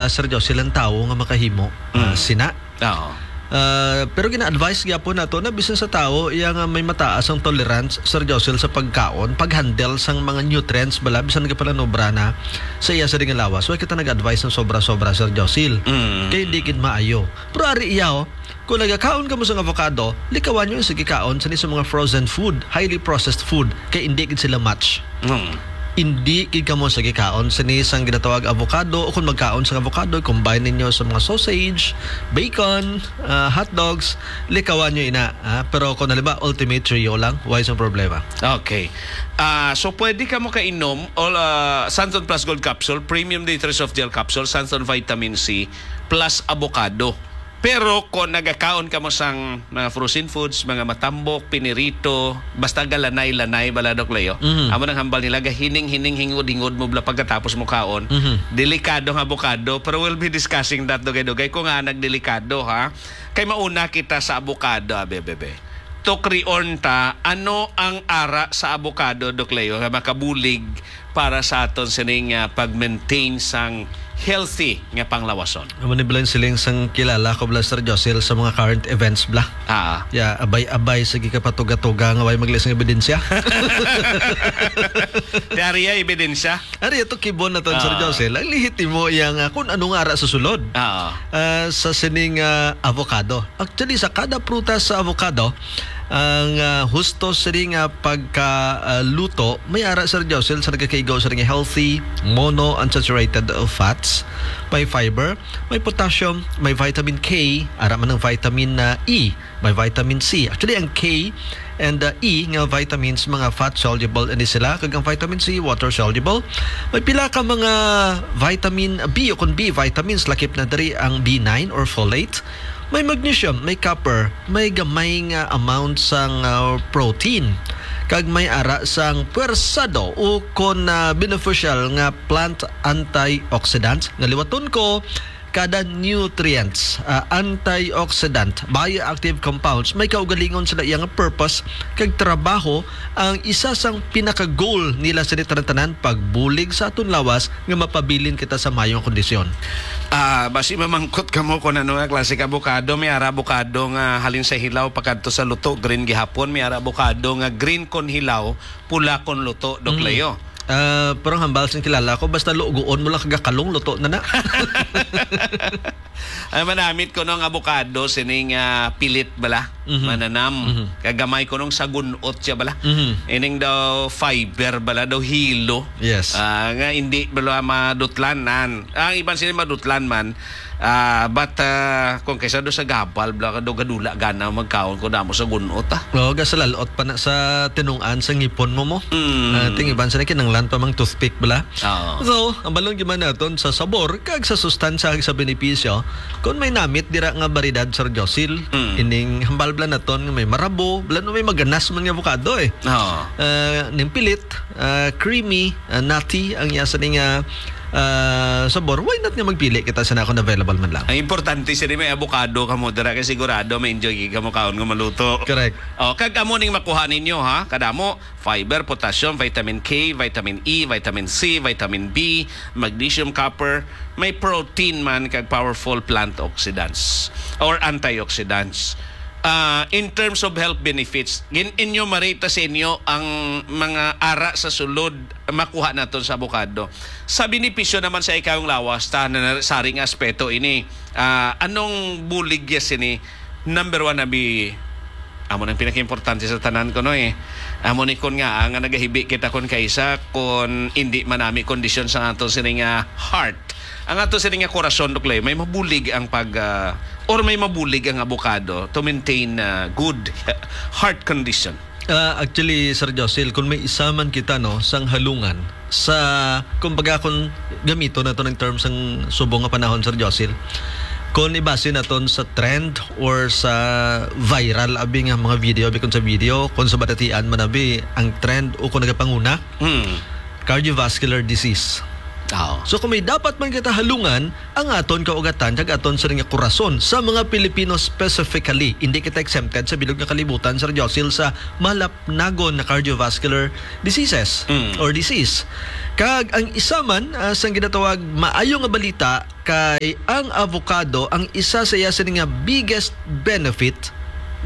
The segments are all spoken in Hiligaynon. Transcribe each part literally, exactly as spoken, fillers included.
Sir Jocelyn, ang tawo nga makahimo, ah, Mm. sina. Oo. Ah, pero gina-advise gyapon nato na bisan sa tawo iya nga may mataas ang tolerance, Sir Jocelyn, sa pagkaon, pag-handle sang mga nutrients bala, bisan ka pala nobra na sa iya sa ring lawas. Wa kita nag-advise ng sobra-sobra, Sir Jocelyn. Mm. Kay hindi gid maayo. Pero ari iya, oh, kung nagakaon ka mo sang avocado, likawan nyo sa gikaon sa ni sa mga frozen food, highly processed food, kay hindi gid sila match. Mm. Hindi gid kamo sa gikaon sini sang ginatawag avocado, o kung magkaon sa avocado, combine ninyo sa mga sausage, bacon, ah, hot dogs, likawan nyo ina, ah. Pero kung halimbawa, Ultimate Trio lang, why sa problema? Okay. Ah, so pwede ka mo kainom o, ah, Santon Plus Gold Capsule, Premium Day three Soft Gel Capsule, Santon Vitamin C, plus avocado. Pero kung nagakaon ka mo sang mga frozen foods, mga matambok, pinirito, basta galanay-lanay bala, Doc Leo, Mhm. amo nang hambal nila, gahining-hining, hingod-hingod mo bala pagkatapos mo kaon. Mhm. Delikado ang avocado, pero we'll be discussing that, dugay-dugay, kung nga nagdelikado, ha? Kay mauna kita sa avocado, abi, bebe. Tukrion ta, ano ang ara sa avocado, Doc Leo, nga makabulig para sa aton sining, ah, pag-maintain sang healthy nga panglawason? Amo ni bala ang siling sang kilala ko bala, Sir Josel, sa mga current events bala. Ah. Ya, abay-abay, sige ka patuga-tuga nga way maglisang ebidensya. Di ari ya ebidensya? Ari, ato kibon naton, Sir Ah. Josel. Ang lehitimo iya nga kung ano nga ara sa sulod. Ah. Ah, sa sining, ah, avocado. Actually, sa kada prutas sa avocado, ang, ah, husto sini nga pagka, ah, luto, may ara, Sir Josel, sa nagakaigaw sa nga healthy monounsaturated fats, may fiber, may potassium, may vitamin K, ara man ang vitamin, ah, E, may vitamin C. Actually, ang K and, ah, E nga vitamins, mga fat soluble ini sila, kag ang vitamin C, water soluble. May pila ka mga vitamin B o kon B vitamins, lakip na diri ang B nine or folate. May magnesium, may copper, may gamay nga amount sang, ah, protein, kag may ara sang puwersado o kon, ah, beneficial nga plant antioxidants nga liwaton ko kada nutrients, ah, antioxidant, bioactive compounds, may kaugalingon sila iya nga purpose kag trabaho. Ang isa sang pinaka-goal nila sa tanan-tanan, pagbulig sa aton lawas nga mapabilin kita sa mayong kondisyon. Ah, basi mamangkot kamo kung ano nga klase ka abukado. May ara abukado nga halin sa hilaw pakadto sa luto, green gihapon. May ara abukado nga green kon hilaw, pula kon luto, Doc Mm. Leo. Ah, pero ang hambal sing kilala ko, basta lugoon mo lang kagakalong, luto na na. Ay, manamit ko nung abukado, sining, ah, pilit bala, Mhm. mananam. Mhm. Kagamay ko nung sagunot siya bala. Mhm. Ining daw fiber bala, daw hilo. Yes. Ah, nga hindi bala madutlanan. Ang iban sila madutlan man, ah, but, ah, kung kaysa do sa gabal, bala ka do gadula gana magkaon ko damo sa gunot, ah. Oo, ga sa lalot pa na sa tinungan sa ngipon mo mo. Mm. Ah, ting iban sila kinanglan pa mang toothpick bala. Oo. So, ang balon gyud man naton sa sabor kag sa sustansya kag sa benepisyo, kung may namit dira nga baridad, Sir Josil, Mm. ining hambal bala naton nga may marabo, bala no may maganas man nga avocado, eh. Oo. Ah, ning pilit, ah, creamy, ah, nutty ang iya sa ning, ah, ah, sabor. Why not nga magpili kita sa nakon available man lang? Ang importante sini may avocado kamo dira kay sigurado may enjoy kamo kaon nga maluto. Correct. Oh, kag amo ning makuha ninyo, ha, kadamo, fiber, potassium, vitamin K, vitamin E, vitamin C, vitamin B, magnesium, copper, may protein man kag powerful plant oxidants or antioxidants. Ah, in terms of health benefits, gin-enumerate sa inyo ang mga ara sa sulod makuha naton sa avocado. Sa benepisyo naman sa ikayong lawas, ta na sari nga aspeto ini. Ah, anong bulig ya sini? Number one, abi, amo nang pinakaimportante sa tanan ko, no, eh. Amo ni kon nga, ah, nga nagahibi kita kon kaisa, kon hindi manami kondisyon sa ato sini nga heart. Ang ato sini nga korason, Doc Leo, may mabulig ang pag, ah, or may mabulig ang abukado to maintain, ah, good heart condition. Ah, actually, Sir Josil, kung may isa man kita, no, sang halungan, sa, kumbaga, kung gamito nato ng term sang subong nga panahon, Sir Josil, kung ibase naton sa trend or sa viral, abi nga mga video, abi kung sa video, kung sa balatian man, abi, ang trend o kung nagapanguna, Hmm. cardiovascular disease. Oo. So, kung may dapat man kita halungan, ang aton kaugatan kag aton sining nga korason sa mga Pilipino specifically, hindi kita exempted sa bilog nga kalibutan, Sir Josil, sa malapnagon na cardiovascular diseases Mm. or disease. Kag ang isa man, ah, sang ginatawag maayo nga balita kay ang avocado, ang isa sa iya sini nga biggest benefit,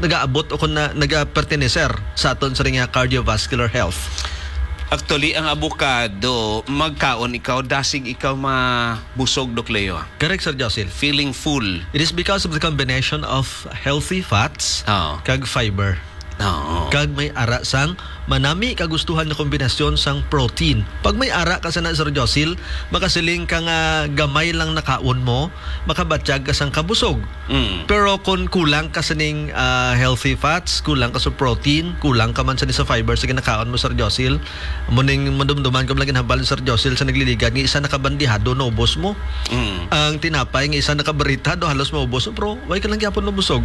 nagaabot o kung na, nagaperteneser sa aton sini nga cardiovascular health. Actually, ang avocado, magkaon ikaw, dasig ikaw mabusog, Doc Leo. Correct, Sir Josil. Feeling full. It is because of the combination of healthy fats Oo. kag fiber. Oo. Kag may ara sang manami kagustuhan nga kombinasyon sang protein. Pag may ara ka sana, Sir Josil, makasiling ka nga gamay lang nakaon mo, makabatyag ka sang kabusog. Mm. Pero kung kulang ka sining, ah, healthy fats, kulang ka sa protein, kulang ka man sini sa fiber sa ginakaon mo, Sir Josil, amo ning madumduman ko lang ginhambal ni Sir Josil sa nagliligad nga isa nakabandihado, naubos mo. Mm. Ang tinapay nga isa nakabaritado, halos maubos mo, pero why ka lang gyapon mabusog?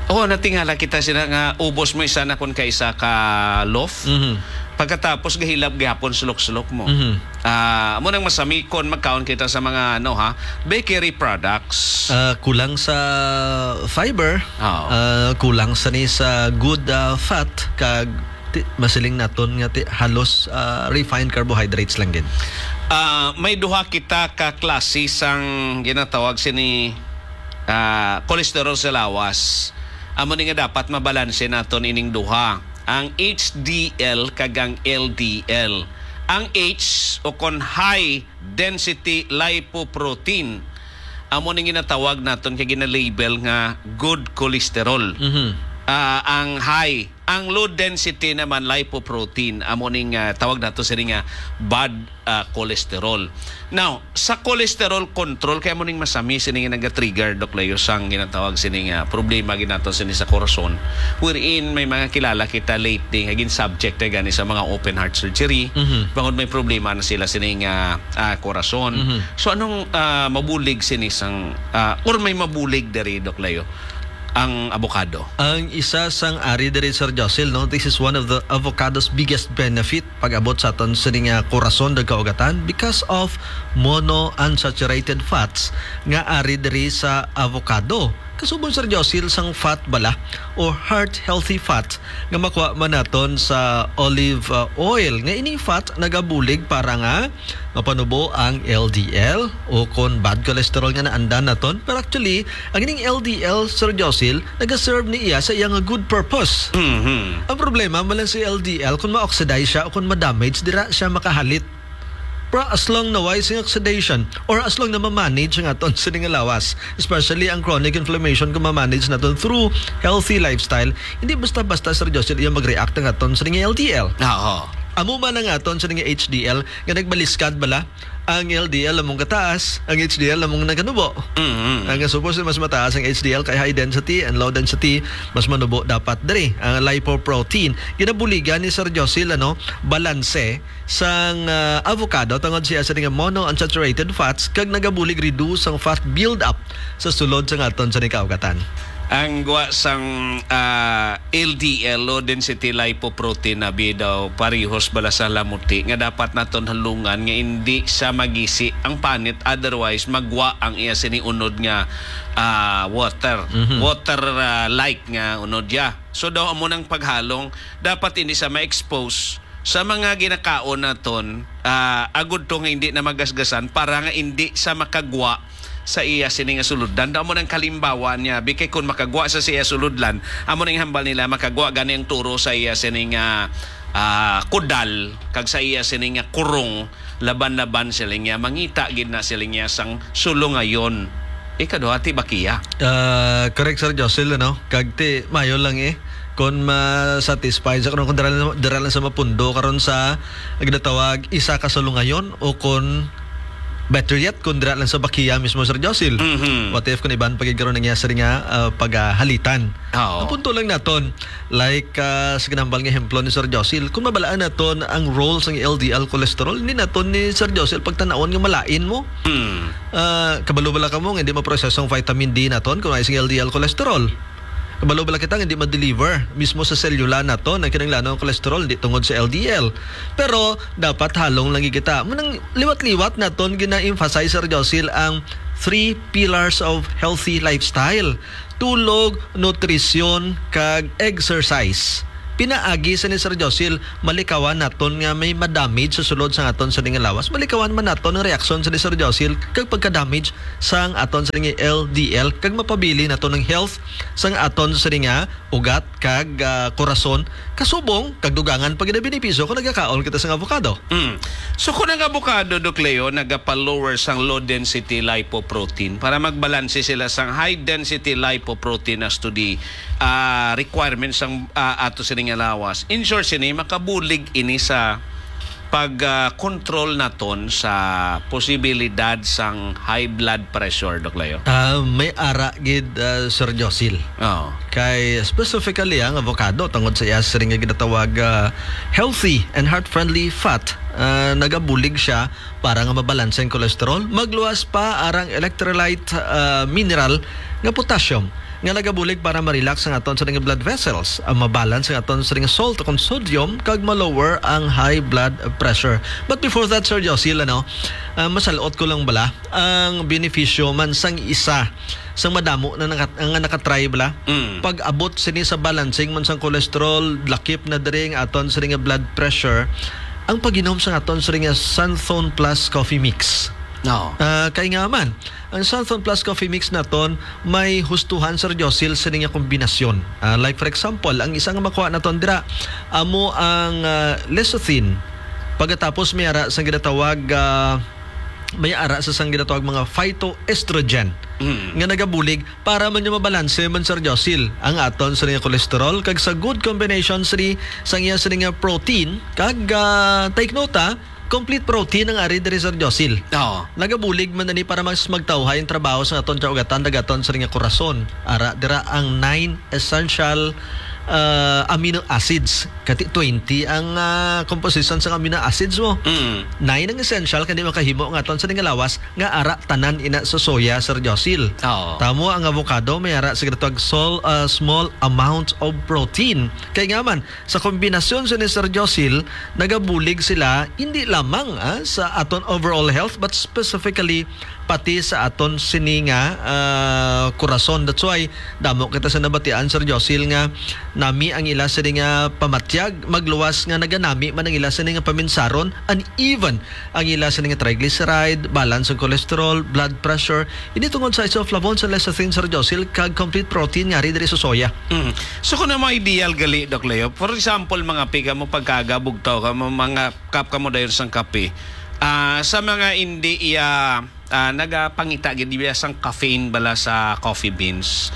Oo, natingala kita sila nga ubos mo isa na kun kaisa ka loaf. Mhm. Pagkatapos gahilab gyapon sulok-sulok mo. Mhm. Ah, amo nang masami kon magkaon kita sa mga, ano, ha, bakery products. Ah, kulang sa fiber, Oo. ah, kulang sa ni sa good, ah, fat, kag ti-, masiling naton nga ti-, halos, ah, refined carbohydrates lang gid. Ah, may duha kita ka klase sang ginatawag sini, ah, cholesterol sa lawas. Amo ni nga dapat mabalanse naton ining duha, ang H D L kag ang L D L. Ang H o kon high density lipoprotein, amo ning ginatawag naton kay ginalabel nga good cholesterol. Mhm. Ah, ang high, ang low density naman lipoprotein, amo ning, ah, tawag nato sini nga bad, ah, cholesterol. Now, sa cholesterol control, kaya mo ning masami sini nga naga-trigger, Doc Leo, sang ginatawag sini nga problema ginato sini sa korason. Wherein may mga kilala kita lately nga gin-subject na gani sa mga open heart surgery, Mhm. bangod may problema na sila sini nga, ah, korason. Mhm. So, anong, ah, mabulig sini sang, ah, or may mabulig diri, Doc Leo, ang avocado? Ang isa sang ari diri, Sir Josil, no? This is one of the avocado's biggest benefit pag-abot sa aton sini nga korason, kag kaugatan, because of monounsaturated fats nga ari diri sa avocado. Kasubon, Sir Josil, sang fat bala o heart healthy fat nga makuha man naton sa olive, uh, oil, nga ining fat nagabulig para nga mapanubo ang L D L o kon bad cholesterol nga naandan naton. Pero actually, ang ining L D L, Sir Josil, nagaserve ni iya sa iya nga good purpose. Mhm. Ang problema, malan si L D L, kung ma-oxidize siya o kung ma-damage, dira siya makahalit. Pero as long na way sing oxidation or as long na ma-manage ang aton sini nga lawas, especially ang chronic inflammation, kung ma-manage naton through healthy lifestyle, hindi basta-basta, Sir Josil, iya mag-react ang aton sini nga L D L. Oo. Amo man ang aton sini nga H D L nga nagbaliskad bala. Ang L D L among kataas, ang H D L among nagkanubo. Mm-hmm. Ang supposed mas mataas ang H D L kay high density and low density, mas manubo dapat diri. Ang lipoprotein, ginabuligan ni Sir Josil, ano, balanse sang, ah, avocado tungod siya sa nga monounsaturated fats kag nagabulig reduce ang fat build up sa sulod sa aton sa nikaugatan. Ang gwa sang, ah, L D L, low density lipoprotein, abi daw parihos bala sa lamuti nga dapat naton halungan nga indi siya magisi ang panit, otherwise magwa ang iya sini unod nga, ah, water, Mhm. water, ah, like nga unod ya. So daw amo nang paghalong, dapat hindi siya ma-expose sa mga ginakaon naton, ah, agud to nga hindi na magasgasan para nga hindi sa makagwa sa iya sini nga suludlan. Daw mo nang kalimbawan niya, bikay kun makagwa sa, sa iya suludlan, amo nang hambal nila, makagwa gani ang turo sa iya sini nga, ah, kudal, kag sa iya sini nga kurong, laban-laban sila niya, mangita gid na sila niya sang sulungayon. Ikaduha, ti bakiya. Ah, correct, Sir Josil, ano? Kag ti, mayo lang eh. Kung ma-satisfy sa, kung dira lang, dira lang sa mapundo, karon sa, ang ginatawag, isa ka sulungayon, o kung better yet, kung dira lang sa bakiya mismo, Sir Josil. Mhm. What if kung iban pa gid karon ang iya sini nga, ah, paghalitan? Oo. Ang punto lang naton, like, ah, sa ginambal nga ehemplo ni Sir Josil, kung mabalaan naton ang role sang L D L cholesterol, hindi naton ni Sir Josil pagtanawon nga malain mo. Hmm. Ah, kabalo bala kamo nga hindi maproseso ang vitamin D naton kung ay sing L D L cholesterol? Kabalo bala kita nga hindi ma-deliver mismo sa selula naton ang kinahanglanong cholesterol, hindi tungod sa L D L. Pero dapat halong lang kita. Munang liwat-liwat naton gina-emphasize, Sir Josil, ang three pillars of healthy lifestyle: tulog, nutrisyon, kag exercise. Pinaagi sa ni Sir Josil, malikawan naton nga may madamage sa sulod sang aton sa nga lawas. Malikawan man naton ang reaksyon sa ni Sir Josil kag pagka-damage sang aton sa nga L D L, kag mapabili naton ang health sang aton sa nga ugat kag, ah, korason, kasubong kag dugangan pa gid ang benepisyo kung nagakaon kita sang avocado. Mm. So, kung ang avocado, Doc Leo, nagapa-lower sang low density lipoprotein para magbalanse sila sang high density lipoprotein as to the, ah, requirements sang, ah, ato sini nga lawas, in short, sini makabulig ini sa pag, ah, control naton sa posibilidad sang high blood pressure, Doc Leo. Ah, may ara gid, ah, Sir Josil. Oo. Kay specifically ang avocado, tungod sa iya siring nga ginatawag, ah, healthy and heart-friendly fat, ah, nagabulig siya para nga mabalanse ang cholesterol, magluwas pa arang electrolyte, ah, mineral nga potassium nga nagabulig para ma-relax ang aton sa nga blood vessels, ang mabalance ang aton sa nga salt o kung sodium, kag ma-lower ang high blood pressure. But before that, Sir Josil, ano, ah, masalot ko lang bala ang benepisyo man sang isa sang madamo na naka-, nga nakatry bala. Mm. Pag-abot sini sa balancing man sang cholesterol, lakip na diri ang aton sini nga blood pressure, ang pag-inom sa aton sini nga Santhon Plus Coffee Mix. No. Ah, kay nga man, ang Santhon Plus Coffee Mix naton may hustuhan, Sir Josil, sini nga kombinasyon. Ah, like for example, ang isa nga makuha naton dira, amo ang, ah, lecithin. Pagkatapos may ara sang ginatawag, ah, may ara sa sang ginatawag mga phytoestrogen Mm. nga nagabulig para man yung mabalanse man, Sir Josil, ang aton sa nga cholesterol kag sa good combination sini sang iya sini nga protein kag, ah, take note, ah, complete protein ang ari diri, Sir Josil. Oo. Nagabulig man ani para mas magtawhay ang trabaho sa aton kaugatan, nagaton sa nga korason. Ara dira ang nine essential, ah, amino acids. Kati twenty ang, ah, composition sa amino acids mo. Mm. Nine ang essential, kani makahimo nga aton sa nga lawas nga ara tanan ina sa soya, Sir Josil. Oo. Tamo ang avocado, may ara sa ginatawag sol-, ah, small amount of protein. Kay nga man, sa kombinasyon sa ni Sir Josil, nagabulig sila hindi lamang, ah, sa aton overall health, but specifically pati sa aton sini nga, ah, korason. That's why damo kita sa nabatian, Sir Josil, nga nami ang ila sini nga pamatyag, magluwas nga naganami man ang ila sini nga paminsaron, and even ang ila sini nga triglyceride, balance ang cholesterol, blood pressure. Ini tungod sa isoflavones and lecithin, Sir Josil, kag complete protein nga ari diri sa soya. Mm. So, kung ang mga ideal gali, Doc Leo, for example, mga pi ka mo pagkaga, bugtaw ka mo, mga kap ka mo dayon sang kape. Ah, sa mga hindi iya, ah, nagapangita gid iya sang caffeine bala sa coffee beans.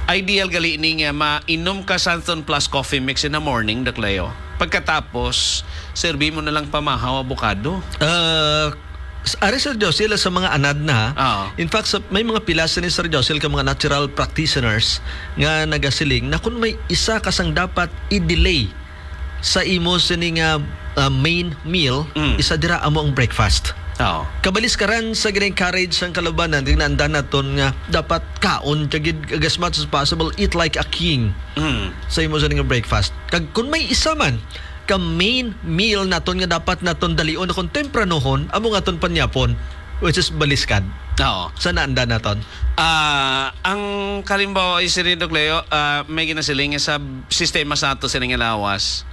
Ideal gali ni nga mainom ka Santhon Plus Coffee Mix in the morning, Doc Leo. Pagkatapos, serbi mo na lang pamahaw avocado. Ah, s-, ari, Sir Josil, sa mga anad na, ha? Oo. In fact, sa, may mga pila sini, Sir Josil, ka mga natural practitioners nga nagasiling na kung may isa ka sang dapat i-delay sa imo sini nga, ah, main meal, Mm. isa dira amo ang breakfast. Oo. Kabaliskaran sa gina-encourage sang kalubanan, tingnan naton nga dapat kaon ka gid, as much as possible, eat like a king Mm. sa imo sini nga breakfast. Kag kung may isa man ka main meal naton nga dapat naton dalion kung tempranohon, amo nga aton panyapon, which is baliskad. Oo. Sa naanda naton. Ah, ang kalimbawa, is rin, Doc Leo, ah, may ginasiling nga sa sistema sa ato sining lawas,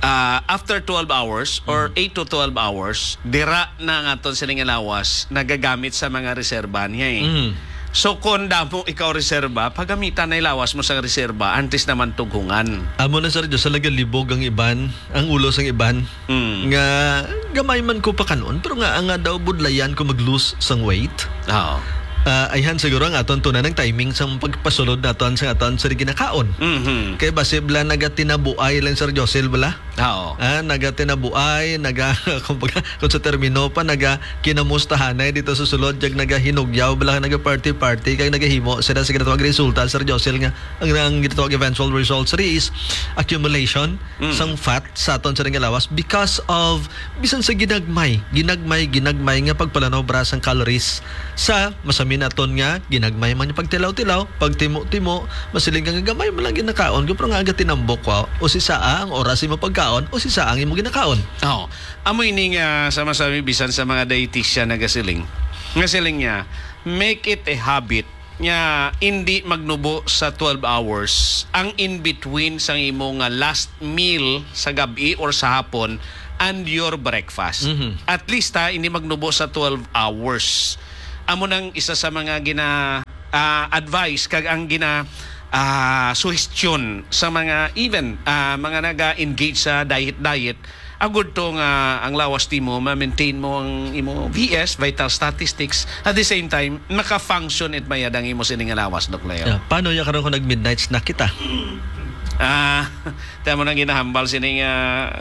ah, after twelve hours or Mm. eight to twelve hours, dira na ang aton sining lawas nagagamit sa mga reserba niya, eh. Mm. So, kung damo ikaw reserba, pagamitan na ilawas mo sa reserba antes naman tughungan. Amo na, Sir Diyos, sa lagalibog ang iban, ang ulo sang iban. Mm. Nga gamay man ko pakanon, pero nga, nga daw budlayan ko mag-lose sang weight. Oo. Ah, ayhan siguro ang aton tunan ang timing sang pagpasulod naton sa aton sa ginakaon. Mhm. Kay basi bala nagatinabuay lang, Sir Josel, bala. Oo. Ah, nagatinabuay, naga-, kumbaga, kung sa termino pa, naga-kinamustahanay dito sa sulod, kag nagahinugyaw, bala, naga-party-party, kag nagahimo sila sa ginatawag resulta, Sir Josel, nga ang, ang ginatawag eventual results diri is accumulation Mm. sang fat sa aton sa nga lawas because of bisan sa ginagmay, ginagmay, ginagmay nga pagpalanobra sang calories sa masami naton nga ginagmay man yung pagtilaw-tilaw, pagtimo-timo, masiling ka nga gamay man lang ginakaon ko, pero nga aga tinambok ko, o si saa ang oras imo pagkaon, o si saa ang imo ginakaon. Oh, amo ini nga sa masami bisan sa mga dietitian nagasiling. Nga siling niya, make it a habit nga hindi magnubo sa twelve hours ang in between sang imo nga last meal sa gabi or sa hapon and your breakfast. Mhm. At least, ha, hindi magnubo sa twelve hours. Amo nang isa sa mga gina, ah, advice kag ang gina, ah, suhestyon sa mga even, ah, mga naga-engage sa diet-diet. Agud to nga ang lawas nimo, ma-maintain mo ang imo V S, vital statistics. At the same time, maka-function it mayad ang imo sini nga lawas, Doc Leo. Yeah. Paano ya karon kung nag-midnight snack kita? Ah, tama nang ginahambal sini nga,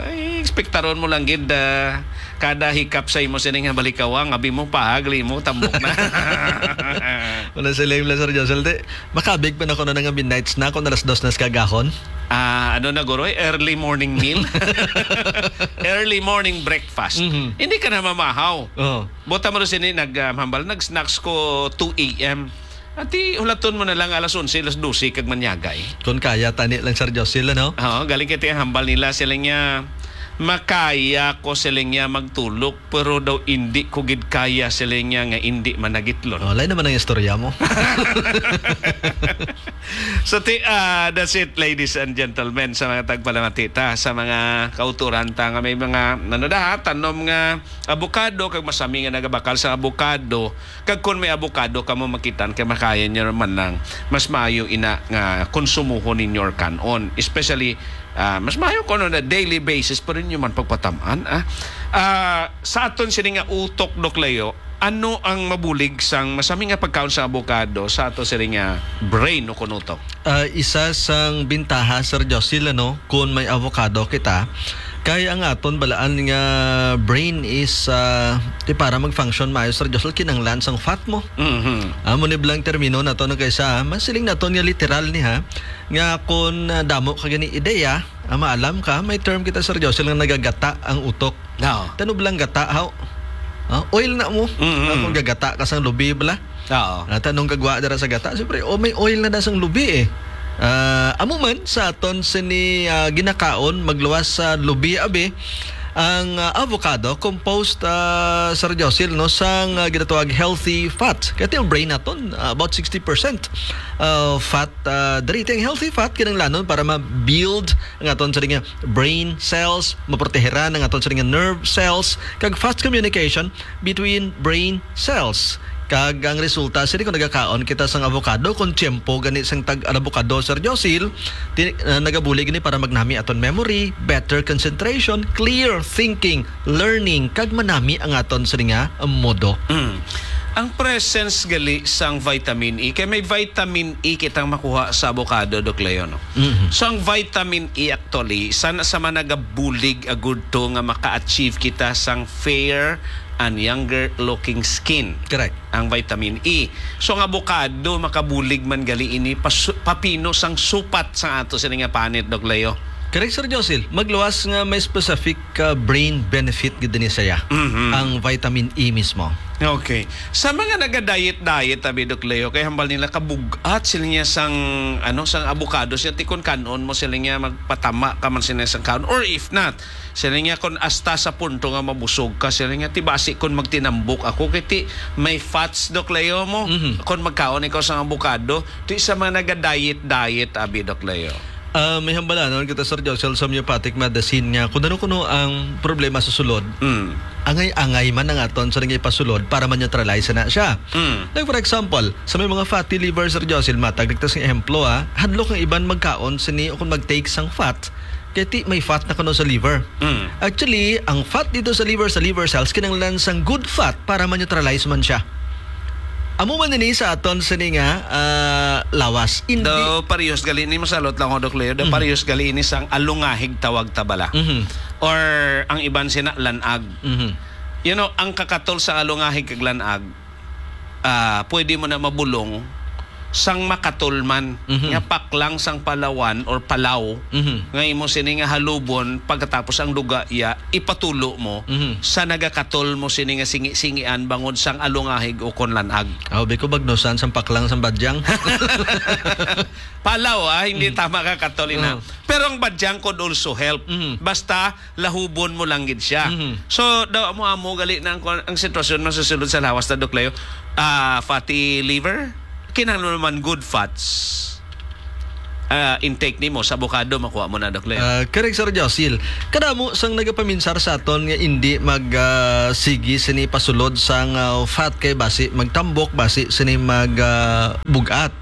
ay, ekspektaron mo lang gid, ah, kada hikap sa imo sini nga balikawa, nga abi mo pahagli mo, tambok na. Wala sila yung Lazar Josel, di. Makabig pa na ko na nga midnight snack kung alas dos na sa kagahon. Ah, ano na, guro, eh? Early morning meal? Early morning breakfast. Mhm. Hindi ka na mamahaw. Oo. Buta mo rin sini, nag, ah, hambal, nag-snacks ko two A M. Ati, hulaton mo na lang alas onse, alas dose, kag manyagay. Kung kaya, tani lang, Sir Josil, ano? Oo, galing kay ti ang hambal nila, sila niya, makaya ko sila niya magtulog, pero daw hindi ko gid kaya sila niya nga hindi managitlon. Oh, lain naman ang istorya mo. So, ti-, ah, that's it, ladies and gentlemen, sa mga tagpalamati ta, sa mga kauturan ta nga may mga, ano da, ha, tanom nga abukado, kag masami nga nagabakal sa abukado, kag kun may abukado kamo makitan, kay makaya nyo naman lang, mas maayo ina nga konsumuhon ninyo or kanon. Especially, ah, mas maayo kung ano na daily basis pa rin nyo man pagpatamaan, ah. Ah, sa aton sini nga utok, Doc Leo, ano ang mabulig sang masami nga pagkaon sa abukado sa ato sini nga brain o kunutok? Ah, isa sang bintaha, Sir Josil, ano, kun may avocado kita, kay ang aton balaan nga brain is, ah, ti para mag-function maayo, Sir Josil, kinahanglan sang fat mo. Mhm. Amo ni blang termino nato no kaysa, ah, masiling naton nga literal ni, ha, nga kun, ah, damo ka gani ideya, ah, maalam ka, may term kita, Sir Josil, nga nagagata ang utok. Oo. Tanublang gata, haw. Ah, oil na mo. Mm-mm. Ah, kung gagata ka sang lubi, bala. Oo. Ah, tanong gagwa dira sa gata, siyempre, oh, may oil na da sang lubi, eh. Ah, amo man, sa aton sini, ah, ginakaon, magluwas sa lubi, abi, ang, ah, avocado, composed, ah, Sir Josil, no, sang, ah, ginatawag healthy fat. Kaya yung brain naton, ah, about sixty percent, ah, fat, ah, diri. Ang healthy fat, kinahanglanon para ma-build ang aton sini nga brain cells, maproteheran ang aton sini nga nerve cells, kag fast communication between brain cells. Kag ang resulta sini kung nagakaon kita sang avocado, kung tiyempo gani sang tag avocado, Sir Josil, ti-, ah, nagabuli gani para magnami aton memory, better concentration, clear thinking, learning, kag manami ang aton sini nga modo. Mm. Ang presence gali sang vitamin E, kay may vitamin E kitang makuha sa avocado, Doc Leo, no? Mhm. So, ang vitamin E actually, sana sa managabulig agud to nga maka-achieve kita sang fair and younger looking skin. Correct. Ang vitamin E. So, ang avocado, makabulig man gali ini, pasu-, papino sang supat sa ato sini nga panit, Doc Leo. Correct, Sir Josil. Magluwas nga may specific, uh, brain benefit gid ni saya. Mhm. Ang vitamin E mismo. Okay. Sa mga naga-diet-diet, abi, Doc Leo, kay hambal nila kabug-at sila niya sang, ano, sang avocado. Siya, ti kun kanon mo sila niya, magpatama ka man sila sang kanon. Or if not, sila niya kun hasta sa punto nga mabusog ka, sila niya, ti basi kun magtinambok ako, kay ti may fats, Doc Leo, mo. Mhm. Kun magkaon ikaw sang avocado, ti sa mga naga-diet-diet, abi, Doc Leo. Ah, may hambalanon kita, Sir Josel, sa homeopathic medicine nga kung ano kuno ang problema sa sulod, Mm. angay-angay man ang aton sa nga ipasulod para ma-neutralize na siya. Mm. Like, for example, sa may mga fatty liver, Sir Josel, matag ligtas nga ehemplo, ha, hadlok ang iban magkaon sini o kung mag-take sang fat, kay ti may fat na kuno sa liver. Mm. Actually, ang fat dito sa liver, sa liver cells, kinahanglan sang good fat para ma-neutralize man siya. Amo man ini sa aton sini nga, ah, lawas. Hindi. Daw parehas gali ni, masalot lang ako, Doc Leo. Daw Mhm. parehas gali ini sang alungahig tawag ta bala. Mhm. Or ang iban sina lanag. Mhm. You know, ang kakatol sa alungahig kag lanag, ah, pwede mo na mabulong sang makatol man, Mhm. nga paklang sang palawan or palaw, Mhm. nga imo sini nga halubon, pagkatapos ang duga iya, ipatulo mo Mhm. sa nagakatol mo sini nga singi-singian bangod sang alungahig o kon lanag. Aw, bi ko bagnusan sang paklang sang badyang. Palaw, ah, hindi Mhm. tama ka, Katolina. Mhm. Pero ang badyang could also help. Mhm. Basta lahubon mo lang gid siya. Mhm. So, daw amo-amo gali na ang, ang sitwasyon masusulod sa lawas na, Doc Leo. Ah, fatty liver, kinahanglan naman good fats. Ah, intake nimo sa avocado, makuha mo na, Doc Leo. Ah, correct, Sir Josil. Kadamo sang nagapaminsar sa aton nga indi mag, ah, sige sini pasulod sang, ah, fat kay basi magtambok, basi sini mag, ah, bugat.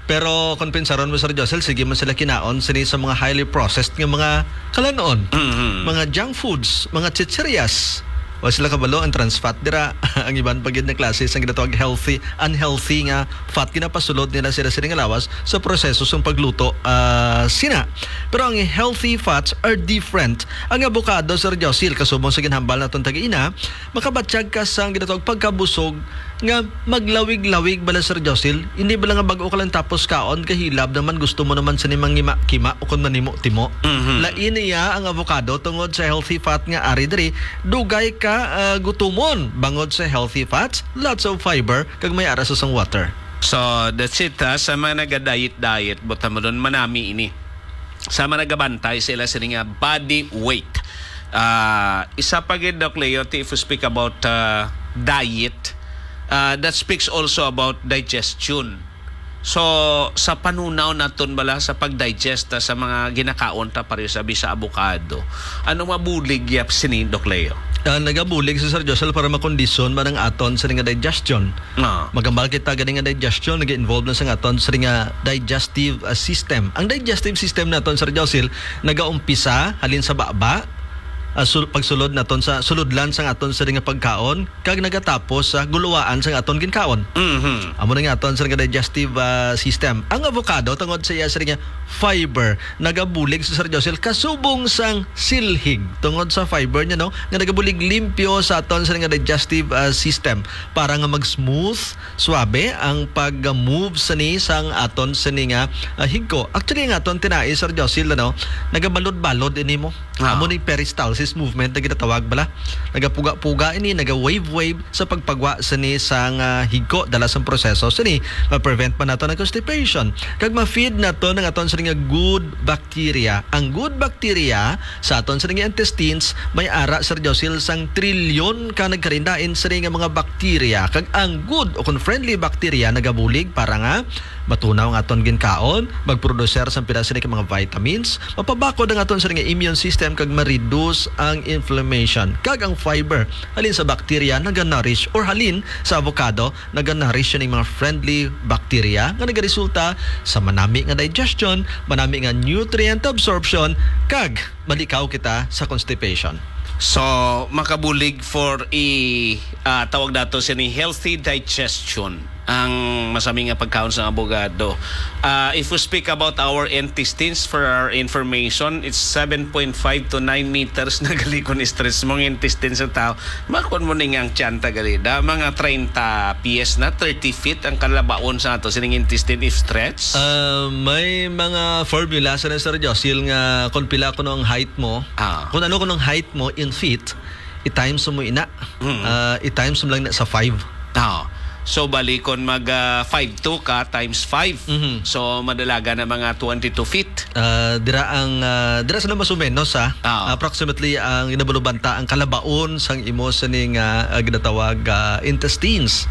Pero kung pinsaron mo, Sir Josil, sige man sila kinaon sini sa mga highly processed nga mga kalan-on. Mhm. Mga junk foods, mga chichirias. Wa sila kabalo ang trans fat dira. Ang iban pa gid na klase sang ginatawag healthy, unhealthy nga fat, ginapasulod nila sila sini nga lawas sa proseso sang pagluto, ah, sina. Pero ang healthy fats are different. Ang avocado, Sir Josil, kasubong sa ginhambal naton tag-ina, makabatyag ka sang ginatawag pagkabusog nga maglawig-lawig bala, Sir Josil. Hindi bala nga bag-o ka lang tapos kaon, kahilab naman, gusto mo naman sini mangima-kima o kon manimo-timo. Mhm. Lain niya ang avocado tungod sa healthy fat nga ari diri. Dugay ka, ah, gutumon bangod sa healthy fats, lots of fiber, kag may ara sa sang water. So, that's it, ha. Sa mga naga-diet-diet, buta mo dun, manami ini. Sa mga nagabantay sila sini nga body weight. Ah, isa pa gid, Doc Leo, ti, if we speak about, ah, diet, ah, that speaks also about digestion. So, sa panunaw naton bala sa pag-digest ta sa mga ginakaon ta, pareho sa bisa avocado, ano mabulig yap sini, Doc Leo? Ah, nagabulig si Sir Josel para makondisyon man ang aton sini nga digestion. Ah. Magambal kita gani nga digestion nag-involve na sa aton sini nga digestive, ah, system. Ang digestive system naton, Sir Josil, nagaumpisa halin sa baba, ah, sul-, pagsulod naton sa sulodlan sang aton sini nga pagkaon, kag nagatapos sa guluwaan sang aton ginkaon. Mhm. Amo na nga aton sini nga digestive, ah, system. Ang avocado, tungod sa iya sini nga fiber, nagabulig sa, Sir Josil, kasubong sang silhig tungod sa fiber niya, no, nga nagabulig limpyo sa aton sini nga digestive, ah, system para nga mag-smooth, suabe ang pag-move sini sang aton sini nga, ah, higko. Actually, ang aton tinai, Sir Josil, ano, nagabalod-balod ini mo. Ah. Amo ni peristalsis movement na ginatawag bala. Nagapuga-puga ini, naga-wave-wave sa pagpagwa sini sang, ah, higko dala sang proseso sini. Ma-prevent pa nato ang constipation. Kag ma-feed nato ang aton sini nga good bacteria. Ang good bacteria sa aton sini nga intestines may ara, Sir Josil, sang trilyon ka nagkarindain sini nga mga bakterya. Kag ang good o kung friendly bacteria nagabulig para nga matunaw ang aton ginkaon, magproduser sang pila sini ka mga vitamins, mapabakod ang aton sini nga immune system kag ma-reduce ang inflammation. Kag ang fiber halin sa bakterya naga-nourish, or halin sa avocado naga-nourish sining mga friendly bacteria nga nagaresulta sa manami nga digestion, manami nga nutrient absorption, kag malikaw kita sa constipation. So, makabulig for i, ah, tawag nato sini healthy digestion ang masami nga pagkaon sa avocado. Ah, if we speak about our intestines, for our information, it's seven point five to nine meters na gali kon i-stretch mo ang intestines sa tao. Makon mo ni nga ang tiyan ta gali da, mga treinta pies na, thirty feet ang kalabaon sa ato sining intestine if stretch. Ah, may mga formula sa, Sir Josil, nga kung pila kuno ang height mo, Ah. kung ano kuno ang height mo in feet, i-times mo ina. Mm. Ah, i-times mo lang na sa five. Ah. So, bali, kung mag, ah, five two ka, times five. Mhm. So, madalaga na mga twenty-two feet. Ah, dira ang, ah, dira sila mas o menos, ah. Ah. Approximately ang ginabalubanta ang kalabaon sang imo sini nga, ah, ginatawag, ah, intestines.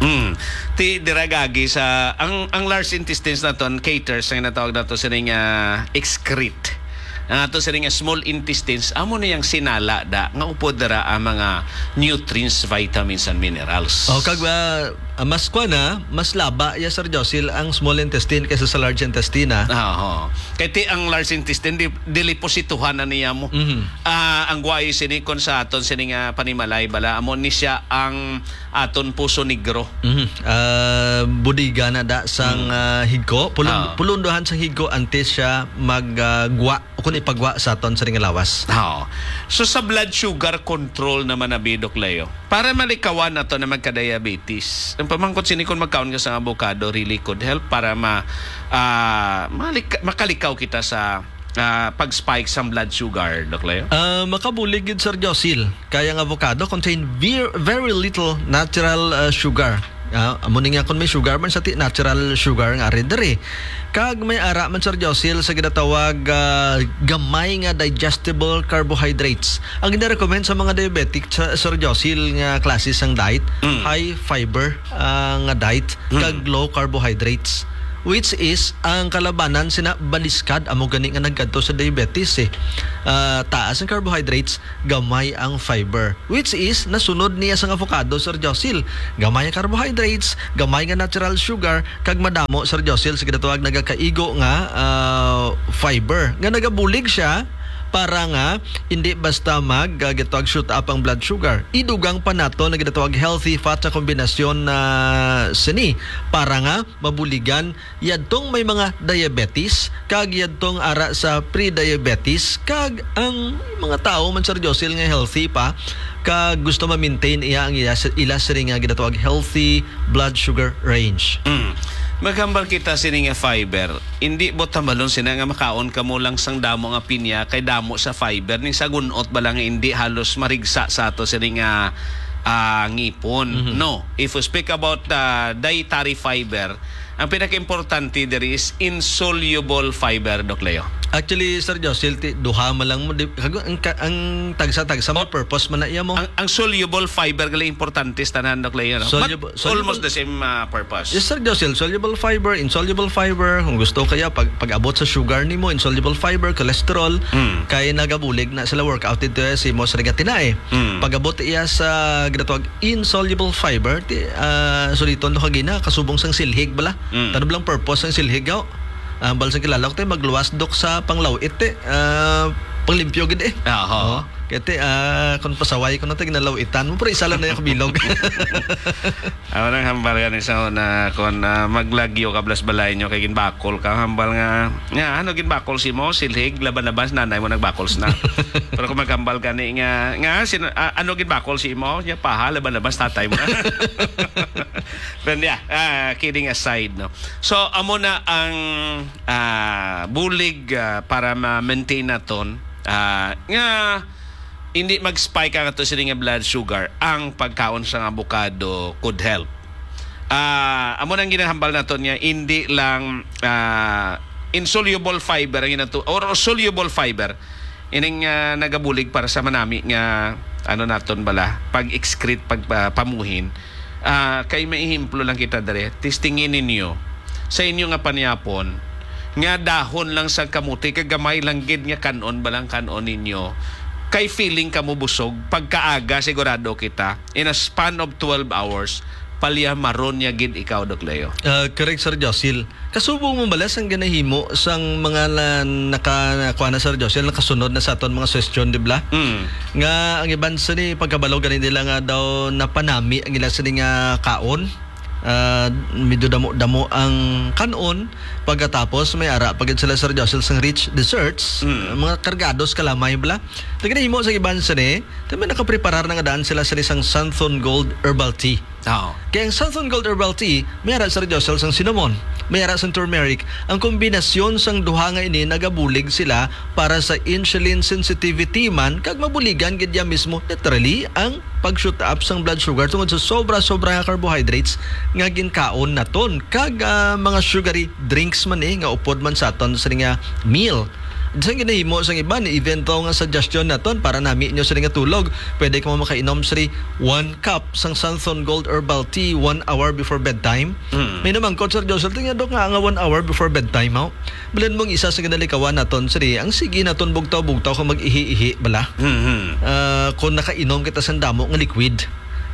Mm. Ti, dira gagi sa, ang, ang large intestines naton caters sa ginatawag nato sini nga excrete. Ang ato sini nga small intestines, amo na yang sinala da, nga upod dira ang mga nutrients, vitamins, and minerals. Oh, kag, ah, Ah, mas kwa na, mas laba ya, Sir Josil, ang small intestine kaysa sa large intestine, ah. Ah, oo. Kay ti ang large intestine, di, dili posituhan na niya mo. Mhm. Ah, ang guway sini kon sa aton sini nga panimalay bala, amo ni siya ang aton puso negro. Mhm. Ah, budiga na da sang, Mm. ah, higko. Pulun-, Ah. pulundohan sang higko antes siya mag, ah, gwa o kung ipagwa sa aton sa ring lawas. Oo. So, sa blood sugar control naman na, Bidok Leo, para malikawan nato na magka-diabetes, ang pamangkot sini kung magkaon ka sa avocado really could help para ma-, ah, malik-, makalikaw kita sa, ah, pag-spike sang blood sugar, Doc Leo? Ah, makabulig gid, Sir Josil. Kaya ang avocado contain ver-, very little natural, ah, sugar. Ah, amo ni nga, kung may sugar man sa ti-, natural sugar nga ari diri. Kag may ara man, Sir Josil, sa ginatawag, ah, gamay nga digestible carbohydrates. Ang gina-recommend sa mga diabetic, sa, Sir Josil, nga klase sang diet, Mm. high fiber, ah, nga diet, Mm. kag low carbohydrates. Which is, ang kalabanan sina baliskad, amo gani nga nagkadto sa diabetes, eh. Ah, taas ang carbohydrates, gamay ang fiber. Which is, nasunod niya sang avocado, Sir Josil. Gamay ang carbohydrates, gamay nga natural sugar, kag madamo, Sir Josil, sa ginatawag nagakaigo nga, ah, fiber. Nga nagabulig siya para nga hindi basta mag, ah, ginatawag shoot up ang blood sugar. Idugang pa nato na ginatawag healthy fat sa kombinasyon na sini para nga mabuligan yadtong may mga diabetes, kag yadtong ara sa pre-diabetes, kag ang mga tawo man, Sir Josil, nga healthy pa, kag gusto ma-maintain iya ang iya, ila sini nga ginatawag healthy blood sugar range. Mm. Maghambal kita sini nga fiber. Indi buot hambalon sina nga makaon kamo lang sang damo nga pinya kay damo sa fiber, ning sa gun-ot bala nga indi halos marigsa sa ato sini nga, ah, ngipon. Mhm. No, if we speak about, ah, dietary fiber, ang pinakaimportante diri is insoluble fiber, Doc Leo. Actually, Sir Josil, ti-, duha man lang mo, di, kag-, ang ka-, ang tagsa-tagsa may Ang, purpose man na iya mo. ang, ang soluble fiber gali importante sa tanan, Doc Leo, no? But Soluble, soluble almost the same, ah, purpose. Yes, Sir Josil, soluble fiber, insoluble fiber, kung gusto kaya, pag, pag-abot sa sugar nimo, insoluble fiber, cholesterol, Mm. kay nagabulig na sila workout dito, eh, si Mos Regatina, eh. Mm. Pag-abot iya sa ginatawag insoluble fiber, ti, ah, suliton do kagina, kasubong sang silhig bala. Mm. Tanong lang purpose sang silhig, gaw. Ah, bal sa kilala ko, te, magluwas dok sa panglaw-it, te. Ah, panglimpyo gid, eh. Aha. Oo. Kaya, te, ah, kung pasaway ko na, te, ginalaw-itan mo, pero isa lang na yung kabilog. Ako nang hambal ka ni sa una, kung, ah, maglagyo ka, blas balay nyo, kay ginbakol ka, hambal nga, nga, ano ginbakol si mo, silhig, laban-laban, si nanay mo nagbakols na. Pero kung maghambal ka ni, nga, nga, sin-, ah, ano ginbakol si mo, niya paha, laban-laban, si tatay mo na. Pero yeah, ah, kidding aside, no. So, amo na ang, ah, bulig, ah, para ma-maintain naton, ah, nga hindi mag-spike ang ato sini nga blood sugar, ang pagkaon sang avocado could help. Ah, amo nang ginahambal naton nga hindi lang, ah, insoluble fiber ang inato, or soluble fiber, ining, ah, nagabulig para sa manami nga, ano naton bala, pag-excrete, pag, ah, pamuhin. Ah, kay may ehemplo lang kita diri. Testingin ninyo sa inyo nga panyapon nga dahon lang sa kamote, kag gamay lang gid nga kan-on ba lang kan-on ninyo, kay feeling kamo busog. Pagkaaga, sigurado kita, in a span of twelve hours, palyamaron niya gid ikaw, Doc Leo. Ah, correct, Sir Josil. Kasubong mo bala sang ginahimo sang mga na, naka, kuha na, Sir Josil, nakasunod na sa aton mga suwestyon, di ba? Mm. Nga ang iban sini pagkabalo gani nila nga daw napanami ang ila sini nga kaon. Ah, medyo damo-damo ang kanon. Pagkatapos, may ara pa gid sila, Sir Josil, sang rich desserts. Mm. Mga kargados kalamay bala. Ang ginahimo sa iban sini, kami nakapreparar na nga daan sila sini sang Santhon Gold Herbal Tea. Oo. Kay ang Southern Gold Herbal Tea, may ara, Sir Joel, sang cinnamon, may ara sang turmeric. Ang kombinasyon sang duha nga ini nagabulig sila para sa insulin sensitivity man, kag mabuligan gid ya mismo, literally, ang pag-shoot up sang blood sugar tungod sa sobra-sobra nga carbohydrates nga ginkaon naton, kag, ah, mga sugary drinks man, eh, nga upod man sa aton sini nga meal. Sa ginahimo sang iban, even to nga suggestion naton para nami nyo sini nga tulog, pwede kamo makainom sini one cup sang Santhon Gold Herbal Tea one hour before bedtime. Mm. May namangkot, Sir Joseph, tingnan, Dok, nga, nga one hour before bedtime, haw? Balin mong isa sa ginalikawan naton, sir, eh, ang sige naton bugtaw-bugtaw kung mag-ihi-ihi bala. Mm-hmm. Ah, kung nakainom kita sang damo nga liquid.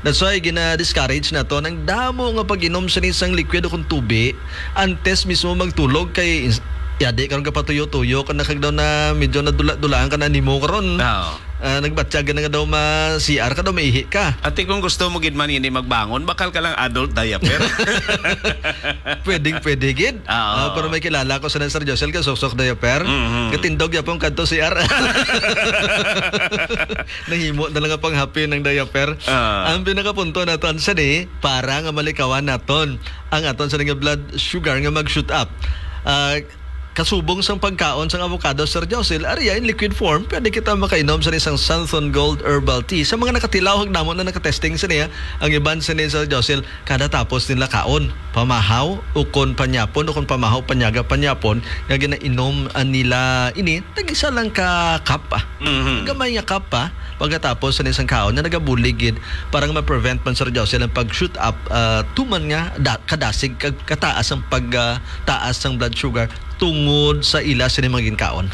That's why gina-discourage naton ang damo nga pag-inom sa isang liquid o kung tubi antes mismo magtulog kay ins-, yadi karon ka patuyo-tuyo ka na kag daw na medyo nadula-dulaan ka na nimo karon. Oo. Ah, nagbatyag ka na nga daw ma-C R ka daw, maihi ka. Ati, kung gusto mo gid man ini magbangon, bakal ka lang adult diaper. Pwedeng pwede gid. Oo. Ah, pero may kilala ko sa Sir Josel ka suksok diaper. Mhm. Katindog yapon kadto C R. Nahimo na lang ang panghapi ng diaper. Ah. Ang pinakapunto naton sa ni, para nga malikawan naton ang aton sa nga blood sugar nga mag-shoot up. Ah, kasubong sang pagkaon sang avocado, Sir Josil, ariya in liquid form, pwede kita makainom sa isang Santhon Gold Herbal Tea. Sa mga nakatilaw, hagdamo na nakatesting sa niya, ang iban sa ni, Sir Josil, kada tapos nila kaon, pamahaw, ukon panyapon, ukon pamahaw, panyaga panyapon, nga ginainom, ah, nila ini, tag-isa lang ka cup, ah. Mhm. Gamay nga cup, ah. Pagkatapos sa isang kaon na nagabulig gid, para nga ma-prevent man, Sir Josil, ang pag-shoot up, ah, tuman nga da-, kadasig, kag kataas ang pag, ah, taas sang blood sugar tungod sa ila sini mga ginkaon.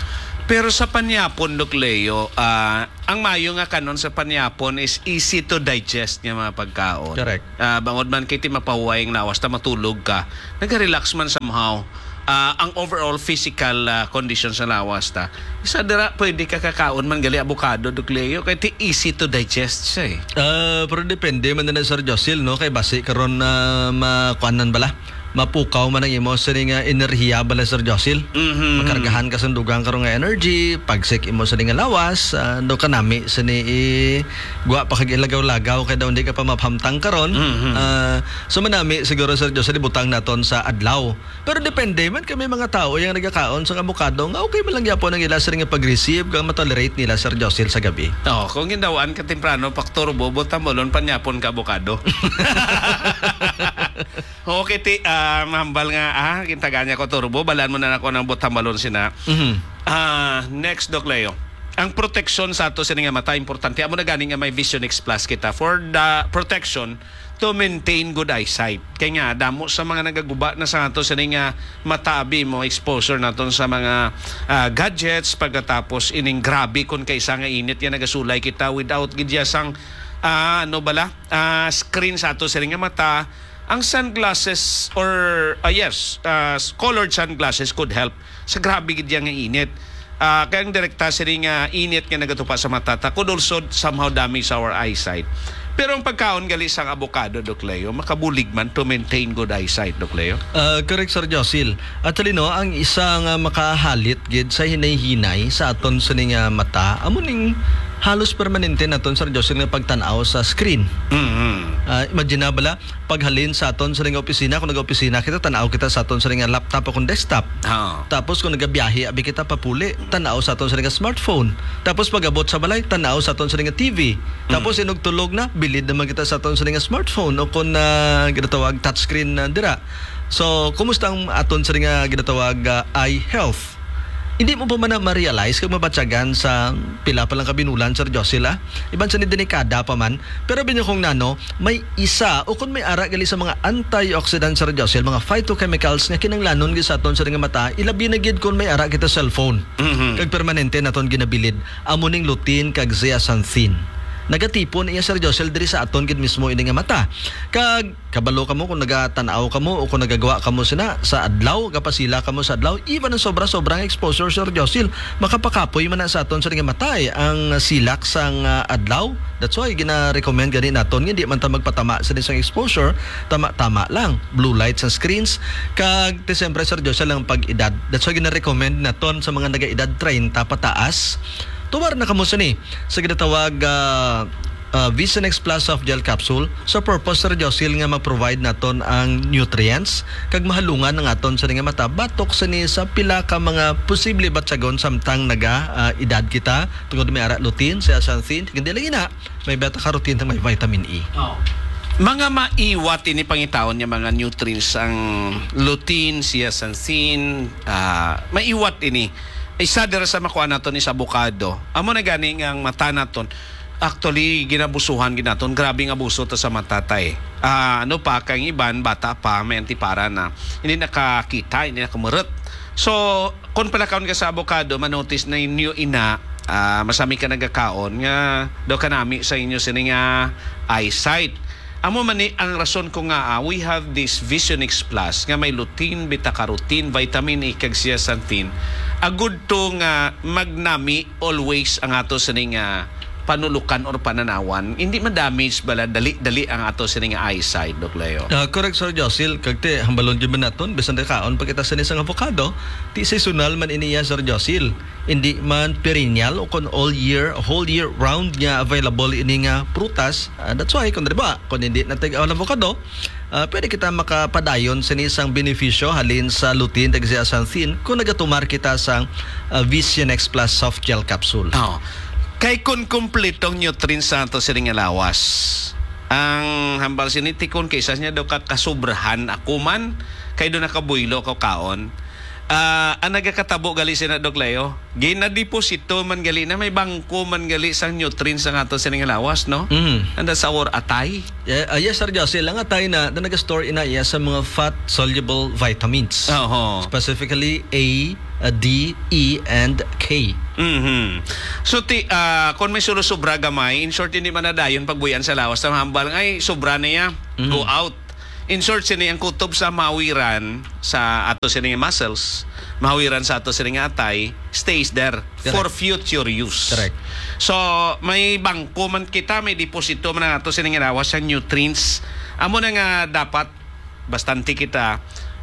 Pero sa panyapon, Doc Leo, ah, ang mayo nga kanon sa panyapon is easy to digest nga mga pagkaon. Correct. Ah, bangod man kay ti mapahuway ang lawas ta, matulog ka, naga-relax man somehow. Ah, ang overall physical, ah, condition sa lawas ta. Isa dira, pwede ka kakaon man gali avocado, Doc Leo, kay ti easy to digest siya eh. Ah, pero depende man na, Sir Josil, no? Kay basi karon na makuanan bala, mapukaw man ang imo sini nga enerhiya bala, Sir Josil. Mhm. Makargahan ka sa dugang karon nga energy, pagsik imo sini nga lawas, ah, do ka nami sini i-, gwa pa kag ilagaw-lagaw kay daw hindi ka pa maphamtang karon. Mhm. Ah, so manami siguro, Sir Josil, ibutang naton sa adlaw. Pero depende man kay may mga tao yang nagakaon sa avocado nga okay man lang gyapon ang ila sini nga pag-receive kag matolerate nila, Sir Josil, sa gabi. Oh, kung gindawaan ka temprano, pakturbo, butambolon, panyapon ka avocado. Okay, ti, ah, mahambal nga, ah, gintagaan niya ko turbo, balaan mo na ako ng butambalon sina. Mhm. Ah, next, Doc Leo. Ang proteksyon sa ato sini nga mata importante. Amo na gani nga may Vision X Plus kita for the protection to maintain good eyesight. Kay nga, damo sa mga nagaguba na sa ato sini nga mata, abi mo, exposure naton sa mga, ah, gadgets, pagkatapos ining grabe kon kaisa nga init nga nagasulay kita without gid siya sang, ah, ano bala, ah, screen sa ato sini nga mata. Ang sunglasses or, ah, yes, ah, s-, colored sunglasses could help sa grabe gid yang init. Ah, kay ang direkta sini nga init nga nagatupa sa mata ta could also somehow damage our eyesight. Pero ang pagkaon gali sang avocado, Doc Leo, makabulig man to maintain good eyesight, Doc Leo. Ah, correct, Sir Josil. Actually, no, ang isa nga makahalit gid sa hinay-hinay sa aton sini nga mata, amo ning halos permanente naton, Sir Josil, nga pagtan-aw sa screen. Mhm. Ah, imagine na bala, paghalin sa aton sa nga opisina, kung nag-opisina kita, tan-aw kita sa aton sa nga laptop o kung desktop. Oo. Tapos kung nagabiyahe abi kita papuli, tan-aw sa aton sa nga smartphone. Tapos pag-abot sa balay, tan-aw sa aton sa nga T V. Tapos Mm. inugtulog na, bilid naman kita sa aton sa nga smartphone o kung, ah, ginatawag touchscreen na dira. So, kumusta ang aton sa nga ginatawag, ah, eye health? Hindi mo pa man na ma-realize kag mabatyagan sa pila pa lang ka binulan, Sir Josila? Iban sa ni delikada pa man. Pero binyo kong nano, may isa o kung may ara gali sa mga antioxidant, Sir Josil, mga phytochemicals nga kinanglanon gid sa aton sa nga mata, ilabi na gid kung may ara kita cellphone. Mhm. Kag permanente naton ginabilid. Amo ning lutein kag zeaxanthin. Nagatipon iya, Sir Josil, diri sa aton gid mismo ini nga mata. Kag kabalo kamo kung nagatan-aw kamo o kung nagagwa kamo sina sa adlaw, gapasila kamo sa adlaw, even ang sobra-sobra nga exposure, Sir Josil, makapakapoy man na sa aton sa nga matay ang silak sang, ah, adlaw. That's why gina-recommend gani naton nga di man ta magpatama sa isang exposure, tama-tama lang. Blue light sa screens, kag ti siyempre, Sir Josil, ang pag-edad. That's why gina-recommend naton sa mga nag-edad treinta pataas. Tuwar na kamo sini sa ginatawag, ah, ah, Vision X Plus Soft Gel Capsule sa purpose, Sir Josil, nga ma-provide naton ang nutrients kag mahalungan ang aton sa nga mata batok sini sa pila ka mga posible batyagon samtang naga, ah, edad kita tungod may ara lutein, zeaxanthin, hindi lang ina, may beta carotene, may vitamin E. Oh. Mga maiwat ini pangitaon niya mga nutrients ang lutein, zeaxanthin, ah, maiwat ini. Isa dira sa makuha naton is avocado. Amo na gani nga ang mata naton, actually, ginabusuhan gid naton. Grabe nga abuso to sa mata, tay. Ah, ano pa, kay ang iban, bata pa, may antipara na. Hindi nakakita, hindi nakamurot. So, kung palakaon ka sa avocado, manotice na inyo ina, Ah, masami ka nagakaon nga daw kanami sa inyo sini nga eyesight. Amo man ni ang rason ko nga, ah, we have this Vision X Plus nga may lutein, beta-carotene, vitamin E, kag zeaxanthin. Agud to nga magnami always ang ato sini nga panulukan or pananawan. Hindi ma-damage bala dali-dali ang ato sini nga eyesight, Doc Leo. Ah, correct, Sir Josil. Kag ti, hambalon gyud man naton, bisan nakaon pa kita sini sang avocado, ti seasonal man iniya, Sir Josil. Hindi man perennial o kon all year, whole year round nga available ini nga prutas. Ah, that's why, kung, di ba, kung hindi na tag-, ang avocado, ah, pwede kita makapadayon sini sang benepisyo halin sa lutein kag zeaxanthin kung nagatumar kita sang, ah, Vision X Plus Soft Gel Capsule. Oh. Kay kung kumpletong nutrients sa ato sini nga lawas, ang hambal sini tikon kay isa niya daw ka kasubrahan ako man, kay do nakabuylo ko kaon. Ah, ang nagakatabo gali sina, Doc Leo, ginadeposito man gali na may bangko man gali sang nutrients ang ato sini nga lawas, no? Mm. And that's our atay. Yeah, ah, yes, Sir Josie, lang atay na, na nag-store ina iya sa mga fat-soluble vitamins. Oho. Specifically A, ah, D, E, and K. Mhm. So, ti, ah, kung may sulo-sobra gamay, in short, hindi man na dayon pagbuyan sa lawas sa hambal nga, ay, sobra na ya. Mhm. Go out. In short, sini ang kutob sa mahawiran sa ato sini nga muscles, mahawiran sa ato sini nga atay, stays there for Correct. future use. Correct. So, may bangko man kita, may deposito man ang ato sini nga lawas sa nutrients. Amo na nga dapat bastante kita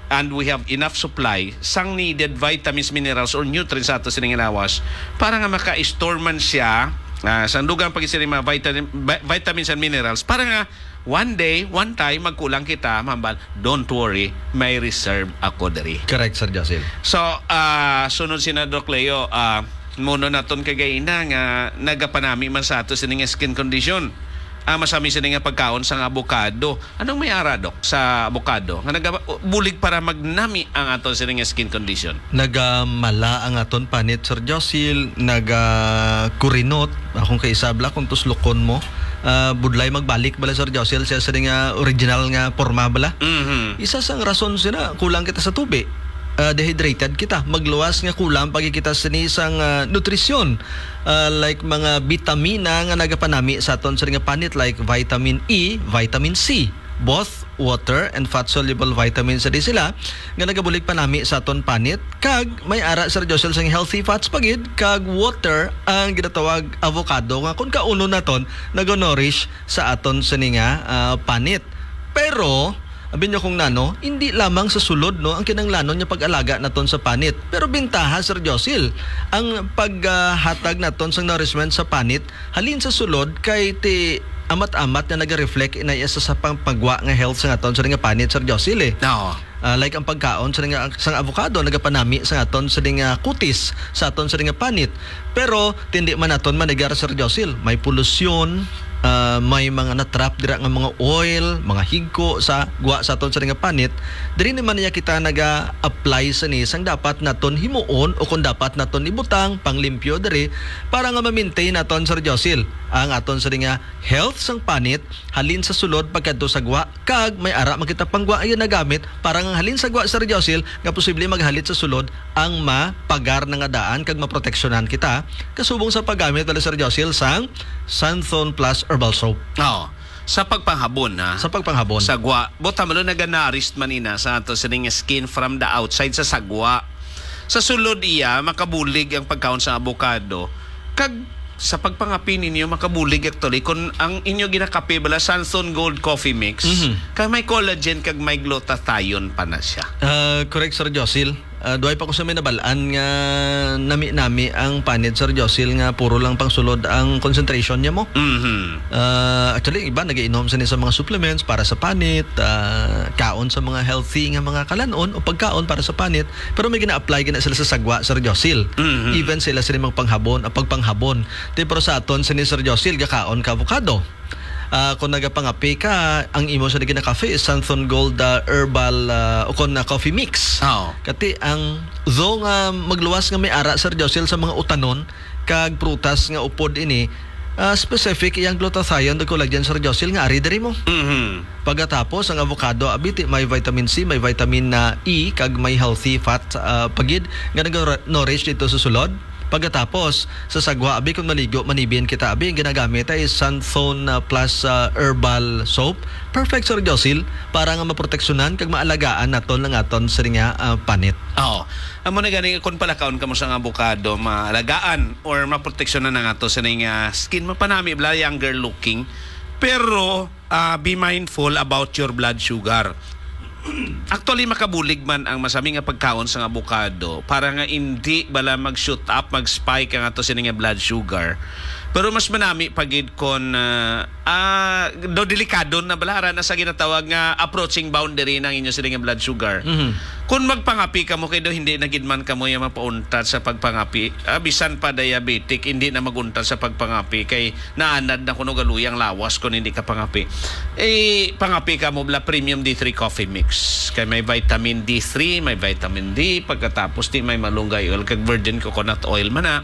and we have enough supply sang needed vitamins, minerals, or nutrients sa ato sini nga lawas para nga maka-store man siya, ah, sang dugang pag sini mga vitamin, vi-, vitamins and minerals para nga one day, one time, magkulang kita, mahambal, don't worry, may reserve ako diri. Correct, Sir Josil. So, ah, sunod sina Doc Leo, ah, muno naton kagaina nga nagapanami man sa ato sini nga skin condition. Ah, masami sini nga pagkaon sang avocado. Anong may ara, Doc, sa avocado nga nagabulig para magnami ang aton sini nga skin condition? Nagamala ang aton panit, Sir Josil, nagakurinot. Akong kaisabla kung tuslukon mo, ah, budlay magbalik bala, Sir Josil, siya sa nga original nga porma bala. Mhm. Isa sang rason sina, kulang kita sa tubi. Ah, dehydrated kita. Magluwas nga kulang pagi kita sini sang, ah, nutrisyon. Ah, like mga bitamina nga nagapanami sa aton sini nga panit, like vitamin E, vitamin C. Both water and fat-soluble vitamins sa di sila nga nagabulig panami sa aton panit, kag may ara, Sir Josel, sang healthy fats pa gid, kag water ang ginatawag avocado nga kung kaunon naton, nag-nourish sa aton sini nga, ah, panit. Pero abi niyo kung nano, hindi lamang sa sulod, no, ang kinahanglanon nga pag-alaga naton sa panit. Pero bintaha, Sir Josil, ang paghatag naton sang nourishment sa panit halin sa sulod kay ti amat-amat nga naga-reflect ina iya sa, sa pangpagwa nga health sa aton sini nga panit, Sir Josil, eh. Oo. Ah, like ang pagkaon sa nga, sang avocado nagapanami sa aton sini nga kutis, sa aton sini nga panit. Pero tindi man naton manigar, Sir Josil, may polusyon, ah, may mga na-trap dira nga mga oil, mga higko sa gwa sa aton sini nga panit. Diri naman niya kita naga-apply sini sang dapat naton himuon o kung dapat naton ibutang panglimpyo diri para nga ma-maintain naton, Sir Josil, ang aton sini nga health sang panit halin sa sulod pagkadto sa gwa, kag may ara man kita pang gwa nga nagamit para nga halin sa gwa, Sir Josil, nga posible maghalit sa sulod ang mapagar na nga daan kag maproteksyonan kita kasubong sa paggamit bala, Sir Josil, sang Santhon Plus Herbal Soap. Oo. Sa pagpanghabon, ha? Sa pagpanghabon. Sa gwa. Buot hamalo naga-nourish man ina sa ato sining skin from the outside sa sagwa. Sa sulod iya, makabulig ang pagkaon sa avocado. Kag sa pagpangapi ninyo, makabulig actually kung ang inyo ginakape bala Santhon Gold Coffee Mix, Mhm. kag may collagen kag may glutathione pa na siya. Ah, correct, Sir Josil. Ah, duway pa ko sa may nabalaan nga nami-nami ang panit, Sir Josil, nga puro lang pangsulod ang concentration niya mo. Mhm. Ah, actually, iba nagainom sa ni sa mga supplements para sa panit, ah, kaon sa mga healthy nga mga kalanon o pagkaon para sa panit, pero may gina-apply gina sila sa sagwa, Sir Josil. Mhm. Even sila sila magpanghabon, ah, pagpanghabon. Ti, pero sa aton sini, Sir Josil, gakaon ka avocado. Ah, kung nagapangape ka, ang imo sa ginakafe is Santhon Gold, ah, herbal, ah, o kon na coffee mix. Oo. Kati ang, though nga magluwas nga may ara, Sir Josil, sa mga utanon kag prutas nga upod ini, ah, specific iyang glutathione, the collagen, Sir Josil, nga ari diri mo. Mhm. Pagkatapos, ang avocado, abiti, may vitamin C, may vitamin, ah, E, kag may healthy fat, ah, pagid nga nag-nourish dito sa sulod. Pagkatapos, sa sagwa, abi, kung maligo, manibin kita, abi, ang ginagamit ay Santhone, ah, Plus, ah, Herbal Soap. Perfect, Sir Josil, para nga maproteksyonan kag maalagaan naton ang aton sini nga, ah, panit. Oo. Amo na gani, kung palakaon kamo sang abukado, maalagaan or maproteksyonan ang ato sini nga skin, mapanami bala, younger looking. Pero, ah, be mindful about your blood sugar. Actually, makabulig man ang masami nga pagkaon sang abukado para nga indi bala mag-shoot up, mag-spike ang ato sini nga blood sugar. Pero mas manami pa gid kon, ah, ah, do delikado na bala, ara na sa ginatawag nga approaching boundary na ang inyo sini nga blood sugar. Mhm. Kung magpangapi kamo, kay do hindi na gid man kamo yung mapauntat sa pagpangapi. Ah, bisan pa diabetic, hindi na maguntat sa pagpangapi kay naanad na kuno galuy ang lawas kon hindi ka pangapi. Eh, pangapi kamo bala premium D three coffee mix. Kay may vitamin D three, may vitamin D, pagkatapos di may malunggay oil kag virgin coconut oil man na.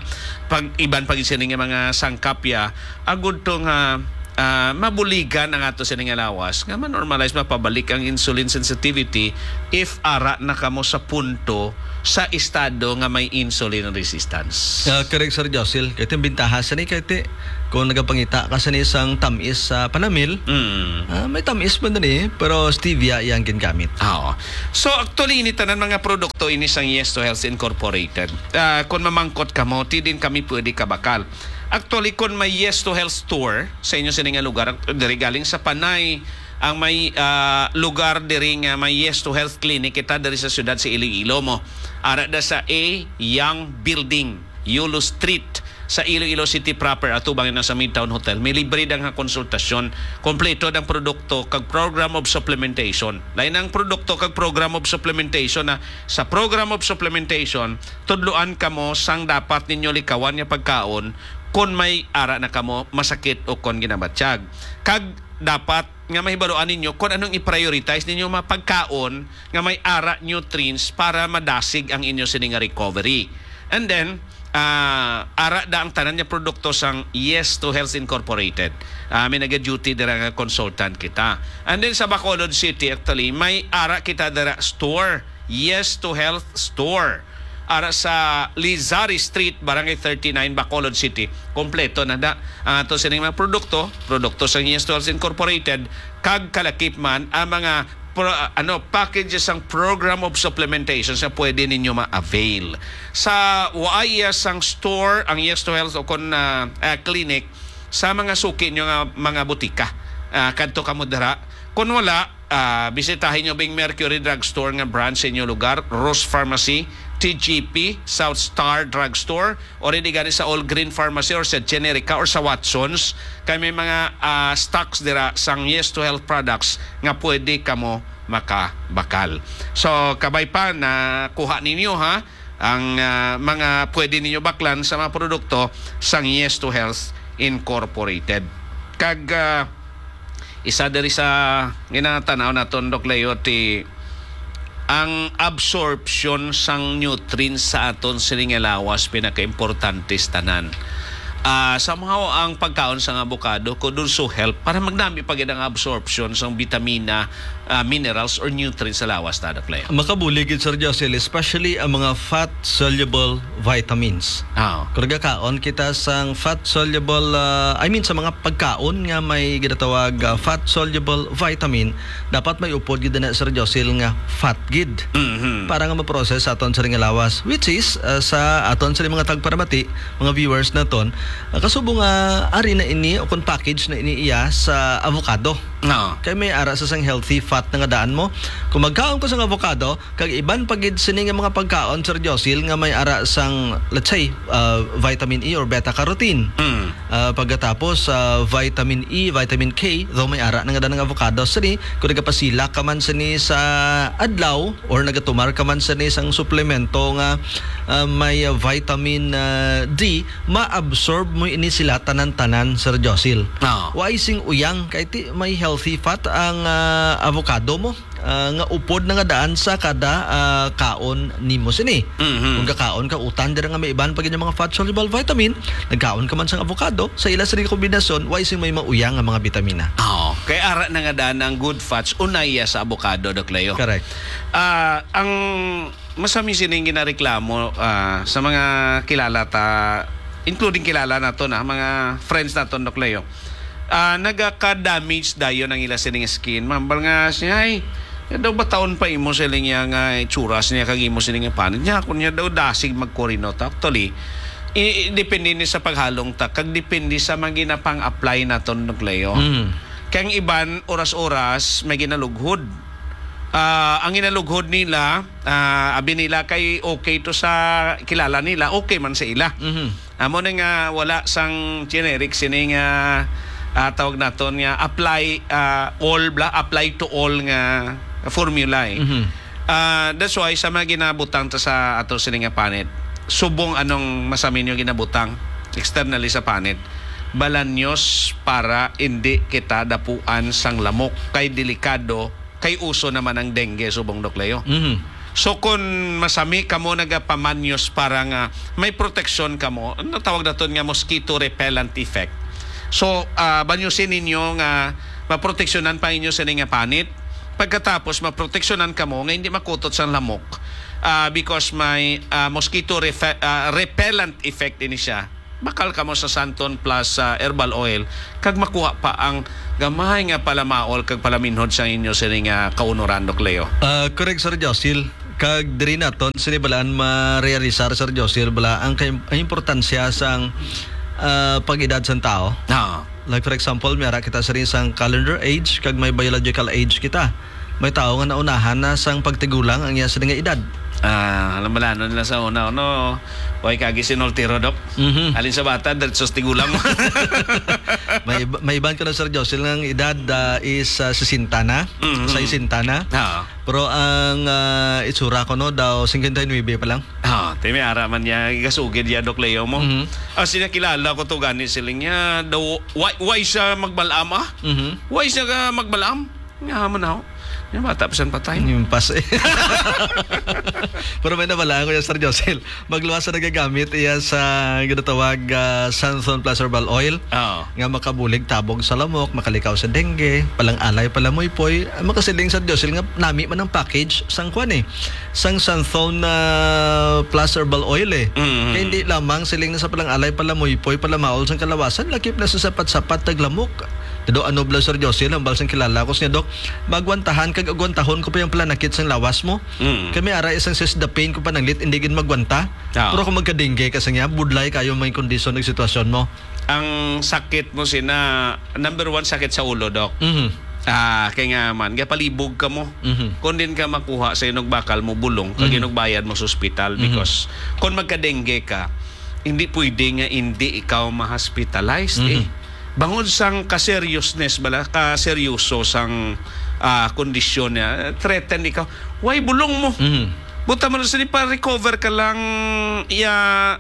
Pag iban pag sini nga mga sangkapya, agud to nga, ah, mabuligan ang ato sini nga lawas nga ma-normalize, mapabalik ang insulin sensitivity if ara na kamo sa punto sa estado nga may insulin resistance. Ah, correct, Sir Josil. Kay ito yung bintaha sa ni, kay ti, kung nagapangita ka sa ni isang tamis sa panamil, Mm. ah, may tamis man din eh, pero stevia iyang gingamit. Oo. So, actually, ini tanan mga produkto ini sang Yes to Health Incorporated. Ah, kung mamangkot kamo, ti din kami pwede kabakal. Actually, kung may Yes to Health store sa inyo sini nga lugar, diri galing sa Panay, ang may, ah, lugar diri nga may Yes to Health Clinic kita diri sa siyudad sa Iloilo mo. Ara da sa A Young Building, Yulo Street, sa Iloilo City proper, atubang na sa Midtown Hotel. May libre da nga konsultasyon, kompleto ang produkto kag program of supplementation. Lain ang produkto kag program of supplementation na sa program of supplementation, tudloan kamo sang dapat ninyo likawan nga pagkaon kon may ara na kamo masakit o kon ginabatyag. Kag dapat nga mahibaluan ninyo kon anong i-prioritize ninyo mga pagkaon nga may ara nutrients para madasig ang inyo sini nga recovery. And then, ah, ara da ang tanan nga produkto sang Yes to Health Incorporated. Ah, may naga-duty dira nga consultant kita. And then sa Bacolod City, actually, may ara kita dira store. Yes to Health Store. Ara sa Lizari Street, Barangay thirty-nine, Bacolod City. Kompleto na da ang ato sining mga produkto, produkto sa Yes to Health Incorporated, kag kalakip man ang mga pro-, ano, packages sang program of supplementation sa pwede ninyo ma-avail. Sa waay sang store ang Yes to Health o kon, ah, ah, clinic, sa mga suki nyo nga mga butika, ah, kadto kamo dira. Kon wala, ah, bisitahin nyo Bing Mercury Drugstore nga branch sa inyo lugar, Rose Pharmacy, T G P, South Star Drugstore, or hindi gani sa All Green Pharmacy or sa Generica or sa Watsons. Kay may mga, ah, stocks dira sang Yes to Health products nga pwede kamo makabakal. So, kabay pa na kuha ninyo, ha, ang, ah, mga pwede ninyo baklan sa mga produkto sang Yes to Health Incorporated. Kag, ah, isa diri sa ginatanaw naton, Doc Leo, ti ang absorption sang nutrients sa aton sining nga lawas pinakaimportante sa tanan. Ah, somehow ang pagkaon sang avocado could also help para magnami pa gid ang absorption sang bitamina, ah, minerals or nutrients sa lawas ta, Doc Leo. Makabulig gid, Sir Josel, especially ang mga fat-soluble vitamins. Ah. Kung nagakaon kita sang fat-soluble, ah, I mean, sa mga pagkaon nga may ginatawag, ah, fat-soluble vitamin, dapat may upod gid na, Sir Josel, nga fat gid Mhm. para nga ma-process sa aton sa nga lawas, which is, ah, sa aton sa mga tagparamati, mga viewers naton, ah, kasubo nga ari na ini o kung package na ini iya sa avocado. Oo. Kay may ara sa sang healthy fat na nga daan mo. Kung magkaon ko sang avocado, kag iban pa gid sini nga mga pagkaon, Sir Josil, nga may ara sang, let's say, ah, vitamin E or beta carotene. Mm. Ah, pagkatapos, ah, vitamin E, vitamin K, though may ara na nga daan nga avocado, sini, kung nagapasila ka man sini sa adlaw or nagatumar ka man sini sang suplemento nga, ah, may, ah, vitamin, ah, D, ma-absorb mo ini sila tanan-tanan, Sir Josil. Oo. Why sing uyang? Kay ti may healthy fat ang, ah, avocado mo. ah, nga upod na nga daan sa kada, ah, kaon nimo sini. Mhm. Kung kakaon ka, utang dira nga may iban pa gid nga mga fat-soluble vitamin, nagkaon ka man sang avocado, sa ila sini kombinasyon, way sing may mauyang nga mga bitamina. Oo. Kay ara na nga daan ang good fats, unay ya sa avocado, Doc Leo. Correct. Ah, ang masami sining ginareklamo, ah, sa mga kilala ta, including kilala nato na, mga friends naton, Doc Leo. Ah, nagaka-damage dayon ang ila sining skin. Mambal nga siya, "Ay, ya daw bataon pa imo," siling niya, "nga itsura niya kag imo sining panit." Niya, kung niya daw dasig magkurinot. Actually, i-, i-, depende ni sa paghalong ta, kag depende sa mga ginapang-apply naton, Doc Leo. Mm. Kay ang iban, oras-oras, may ginalughod. Ah, ang ginalughod nila, ah, abi nila kay okay to sa kilala nila, okay man sa ila. Mhm. Amo na nga wala sang generic sini nga, ah, tawag naton nga apply, ah, all bla, apply to all nga formula, eh. Mhm. Ah, that's why sa mga ginabutang ta sa ato sini nga panit, subong anong masami nyo ginabutang externally sa panit, balanyos para hindi kita dapuan sang lamok kay delikado kay uso naman ang dengue, subong, Doc Leo. Mhm. So, kung masami kamo nagapamanyos para nga may proteksyon kamo, ang tawag naton nga mosquito repellent effect. So, ah, banyusin ninyo nga maproteksyonan pa inyo sini nga panit. Pagkatapos, maproteksyonan kamo nga hindi makutot sang lamok, ah, because may, ah, mosquito refe-, ah, repellent effect ini siya. Bakal kamo sa Santon Plus, ah, Herbal Oil, kag makuha pa ang gamay nga palamaol kag palaminhod sa inyo sini nga kaunoran, Doc Leo. Ah, correct, Sir Josil. Kag diri naton sini balaan marealisar, Sir Josil, bala ang kay-, ang importansya sang, ah, pag-edad sang tao. Ah. Like, for example, may ara kita sini sang calendar age kag may biological age kita. May tawo nga naunahan na sang pagtigulang ang iya sini nga edad. Ah, alam bala, ano nila sa una, ano, way kagi sinultiro, Doc? Mhm. Alin sa bata, diretso sa tigulang. May iba, may iban ko na, Sir Josil, nga ang edad, ah, is, ah, sesenta na, Mhm. sesenta na. Ah. Pero ang, ah, itsura ko, no, daw, singkwenta y nuebe pa lang. Ah, timi, ara man niya, igasugid ya, Doc Leo mo. Mhm. Ah, sinakilala ko to gani, siling niya, daw, why, why siya magbalam, ah? Mhm. Why siya ka magbalam? Nga man ako. Yung bata pa siyang patay. Yung pas-, eh. Pero may nabala ko yung Sir Josil. Magluwas sa nagagamit iya sa ginatawag, ah, Santhon Plus Herbal Oil Oo. nga makabulig tabog sa lamok, makalikaw sa dengue, palang alay, palamuypoy. Ah, makasiling, Sir Josil, nga nami man ang package sang kwan eh, sang Santhon, ah, Plus Herbal Oil eh. Mm. Kaya hindi lamang siling na sa palang alay, palamuypoy, palamaol sang kalawasan, lakip na sa sapat-sapat taglamok. Dado ano bala, Sir Josil, hambal sang kilala ko siya, Dok, magwantahan kag agwantahon ko pa yung palanakit sang lawas mo. Mm. Kami ara isang sis the pain ko pananglit, hindi gid magwanta. Ah. Pero kung magka-dengue ka sa niya, budlay kayo may kondisyon ng sitwasyon mo. Ang sakit mo sina, number one, sakit sa ulo, Doc. Mhm. Ah, kay nga man, gapalibog ka mo. Mhm. Kung din ka makuha sa inog bakal mo bulong, kag Mhm. inog bayad mo sa ospital, Mhm. because kung magka-dengue ka, hindi pwede nga hindi ikaw ma-hospitalized, eh. Mhm. Bangod sang ka-seriousness bala, ka-seryoso sang, ah, kondisyon niya, threaten ikaw. Why bulong mo? Mhm. Buta mo na sini pa recover ka lang, iya,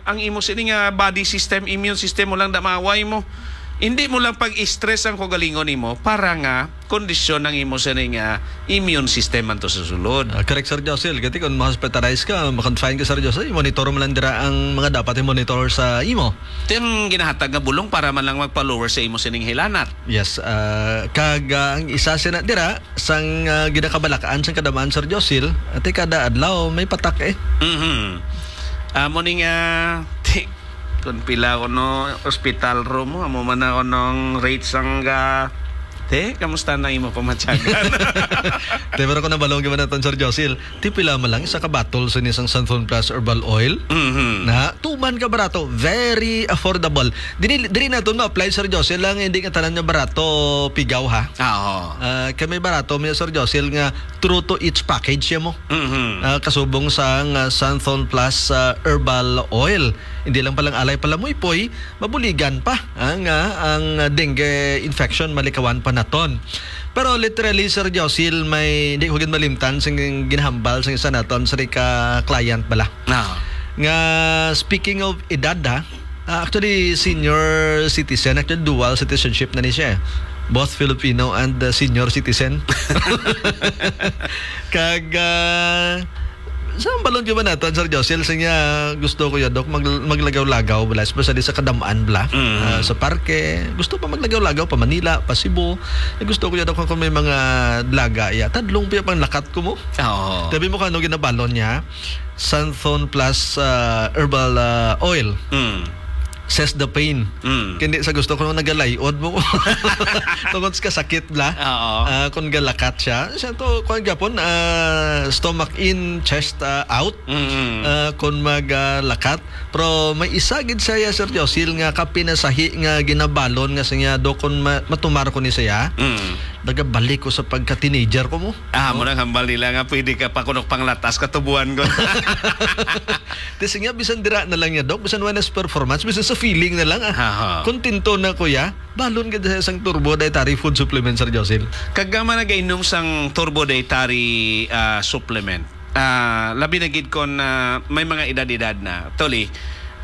ang imo sini nga body system, immune system mo lang damaway mo. Hindi mo lang pag-stress ang kaugalingon nimo para nga kondisyon ang imo sini nga immune system man to sa sulod. Ah, correct, Sir Josil. Kati kung ma-hospitalize ka, ma-confine ka, Sir Josil, monitor mo lang dira ang mga dapat i-monitor sa imo. Ito yung ginahatag nga bulong para man lang magpa-lower sa imo sining hilanat. Yes, ah, kag, ah, ang isa sina dira, sang, ah, ginakabalakaan sang kadamaan, Sir Josil, ati kada adlaw may patak eh. Mhm. Amo ni nga, ti-, kung pila ko no hospital room mo, amo man na ko nung rate sang ga-, te, kamusta na imo pamatyagan? Te, pero kung nabalong gyud man naton, Sir Josil, ti pila man lang isa ka bottle sa inisang Santhon Plus Herbal Oil? Mhm. Na, tuman ka barato, very affordable. Dili, dili naton ma-apply, Sir Josil, lang hindi nga tanan nga barato pigaw, ha? Ah, oo. Ah, kay may barato, may Sir Josil, nga true to each package siya mo. Mhm. Ah, kasubong sang, ah, Santhon Plus, ah, Herbal Oil. Hindi lang palang alay palamuypoy, mabuligan pa ang, ah, ang dengue infection, malikawan pa naton. Pero literally, Sir Josil, may hindi ko gid malimtan sing ginahambal sing isa naton, sir, ka client bala. Ah. Nga, speaking of edad, ha, ah, actually, senior citizen, actually, dual citizenship na ni siya. Both Filipino and, uh, senior citizen. Kag, uh, sa balon gyud man naton, Sir Josel, sa nga gusto ko ya, Doc, mag-, maglagaw-lagaw bala, especially sa kadam-an bala. Mm. Uh, sa parke, gusto pa maglagaw-lagaw, pa Manila, pa Cebu. Eh, gusto ko ya, Doc, kung may mga dalaga ya. Tadlong pa ya panglakat ko mo. Oo. Tabi mo kung ano ginabalon niya? Santhon plus, uh, herbal, uh, oil. Mm. Says the pain. Mm. Kindi sa gusto ko nung nagalayod mo. Tungod sa kasakit bala. Oo. Ah, kung galakat siya. Siya to, kung gapon, ah, stomach in, chest, ah, out. Mm. Ah, kung mag, ah, lakat. Pero may isa gid saya, Sir Josil, nga kapinasahi nga ginabalon nga sa niya, do kung ma-, matumar ko ni saya. Mm. Nagabalik ko sa pagka-teenager ko mo. Ah, mo nang hambal nila nga pwede ka pa kunok panglatas katubuan ko. Kasi nga, bisan dira na lang niya, Doc, bisan wala sa performance, bisan sa feeling na lang, ah. Aha. Kontento na, kuya. Balon gid sa isang Turbo Dietary Food Supplement, Sir Josil. Kag ang mga nagainom sang Turbo Dietary, ah, Supplement, ah, labi na gid kon, ah, may mga edad-edad na. Actually,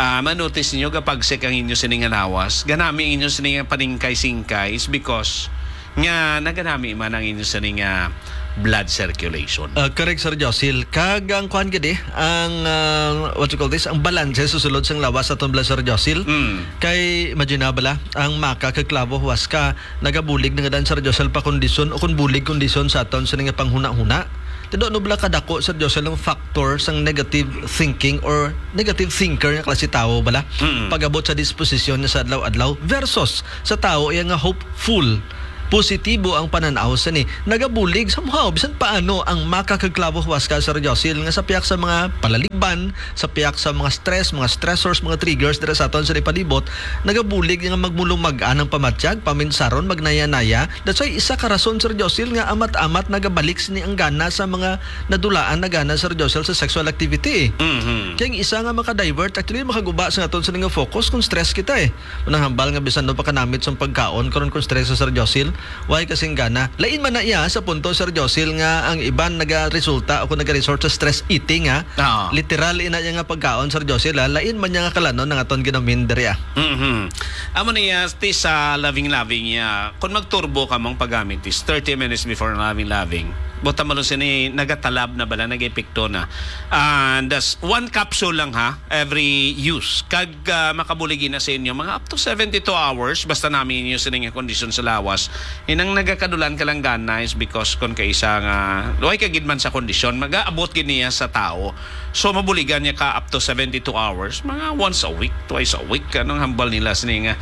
ah, ma-notice ninyo, gapagsik ang inyo sini nga lawas, ganami ang inyo sini nga paningkay-singkay is because nga naganami man ang inyo sini nga blood circulation. Ah, correct, Sir Josil. Kag ang kuan gid eh, ang, ah, what you call this, ang balanse sa sulod sang lawas sa aton blood, Sir Josil. Mm. Kay imagine na bala, ang maka kag klabo huwas ka, nagabulig na nga dan, Sir Josil, pa kondisyon o kung bulig kondisyon sa aton sini nga panghuna-huna. Tido, ano bala kadako, Sir Josil, ang factor sang negative thinking or negative thinker nga klase tawo bala? Mm. Pag-abot sa disposisyon niya sa adlaw-adlaw versus sa tawo iya nga hopeful, positibo ang panan-aw sini. Nagabulig somehow, bisan paano, ang maka kag klabo huwas ka, Sir Josil, nga sa piyak sa mga palaligban, sa piyak sa mga stress, mga stressors, mga triggers dira sa aton sa palibot, nagabulig nga magmulumag-an ang pamatyag, paminsaron, magnaya-naya. That's why isa ka rason, Sir Josil, nga amat-amat nagabalik sini ang gana sa mga nadulaan na gana, Sir Josil, sa sexual activity. Mhm. Kaya ang isa nga maka-divert, actually, makaguba sa aton sa nga focus kung stress kita eh. Unang hambal nga bisan no pa kanamit sa pagkaon karon kung stress, Sir Josil, why kasing gana? Lain man na iya sa punto, Sir Josil, nga ang iban nagaresulta o kung nagaresort sa stress eating, ha? Oo. Literal ina niya nga pagkaon, Sir Josil, ha? Lain man niya nga kalanon ang aton ginamin diri, ah. Mhm. Amo niya, ti sa loving-loving niya, kung magturbo ka mong paggamit is thirty minutes before loving-loving. Buta mo sini, nagatalab na bala, nag-epekto na. And that's one capsule lang, ha, every use. Kag, ah, makabuligi na sa inyo, mga up to seventy-two hours, basta nami inyo sini nga kondisyon sa lawas. Inang nagakadulan ka lang gana is because kon kaisa nga, luway ka gid man sa kondisyon, mag-aabot gid niya sa tao. So, mabuligan niya ka up to seventy-two hours, mga once a week, twice a week, anong hambal nila sini nga.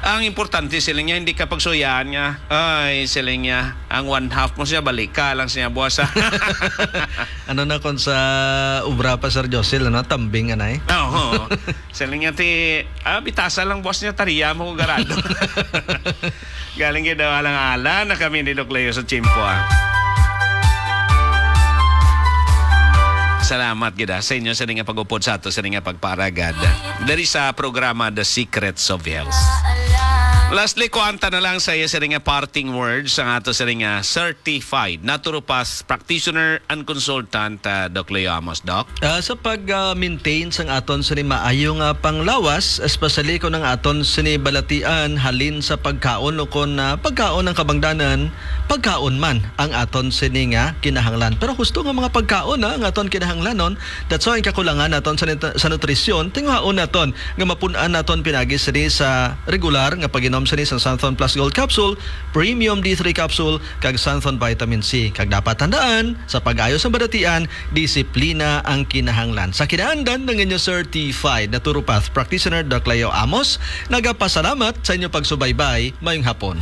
Ang importante sila niya, hindi ka pagsuyaan nga, ay, sila niya, ang one half mo siya, balik ka lang siya, buwas. Ano na kung sa obra pa, Sir Josil, ano? Tambing, anay? Oo. Sila niya, ti, ah, bitasa lang, boss niya, tariya mo ko garado. Galing gid daw, alang-ala na kami ni Doc Leo sa tiyempo, ah. Salamat gid, ah, sa inyo sa nga pag-upod sa ato, sa nga pagparagad diri sa programa The Secrets of Health. Lastly, kuanta na lang sa iya sa nga parting words ang ato sa nga certified naturopath practitioner and consultant, ah, Doc Leo Amos, Doc. Ah, sa pag, ah, maintain sang aton sini maayo nga panglawas, especially kung ang aton sini balatian halin sa pagkaon o kung, ah, pagkaon ang kabangdanan, pagkaon man ang aton sini nga kinahanglan. Pero husto nga mga pagkaon, ah, ang aton kinahanglanon, that's why ang kakulangan naton sa nit-, sa nutrisyon, tinguhaon naton nga mapun-an naton pinagi sini sa regular nga pag-inom sini sa Santhon Plus Gold Capsule, Premium D three Capsule, kag Santhon Vitamin C. Kag dapat tandaan, sa pag-ayo sa balatian, disiplina ang kinahanglan. Sa kinaandan ng inyo certified naturopath practitioner, Doc Leo Amos, nagapasalamat sa inyo pagsubaybay. Mayong hapon.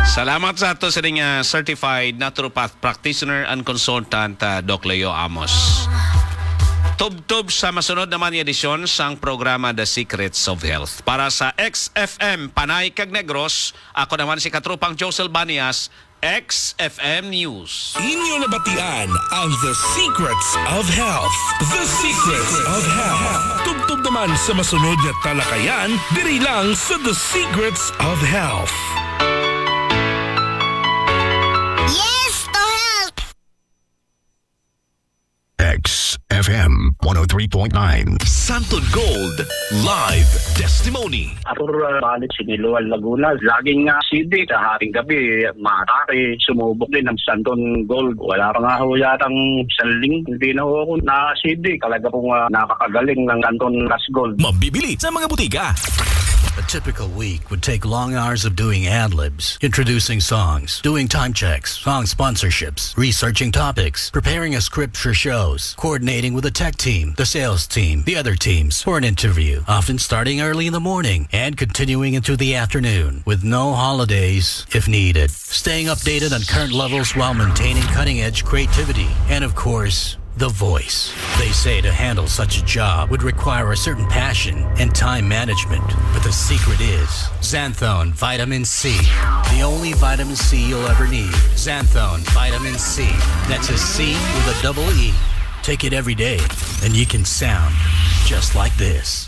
Salamat sa ato sa nga certified naturopath practitioner and consultant, ah, Doc Leo Amos. Tubtob sa masunod naman nga edisyon sang programa The Secrets of Health. Para sa X F M Panay kag Negros, ako naman si Katropang Josel Banias, X F M News. Inyo nabatian ang The Secrets of Health. The Secrets of Health. Tubtob naman sa masunod nga talakayan, diri lang sa The Secrets of Health. Yes to health! X F M one oh three point nine. Santon Gold Live Testimony. Ako, uh, balik Siniloan, Laguna. Laging nga acidic. Sa haring gabi, matake. Sumubok din ang Santon Gold. Wala pa nga ho yatang isang linggo, hindi na ho ako na-acidic. Talaga pong, uh, nakakagaling ng Santon Plus Gold. Mabibili sa mga butika. A typical week would take long hours of doing ad-libs, introducing songs, doing time checks, song sponsorships, researching topics, preparing a script for shows, coordinating with the tech team, the sales team, the other teams for an interview, often starting early in the morning and continuing into the afternoon with no holidays if needed. Staying updated on current levels while maintaining cutting-edge creativity and, of course, the voice. They say to handle such a job would require a certain passion and time management, but the secret is Xanthone Vitamin C. The only vitamin C you'll ever need. Xanthone Vitamin C. That's a C with a double E. Take it every day, and you can sound just like this.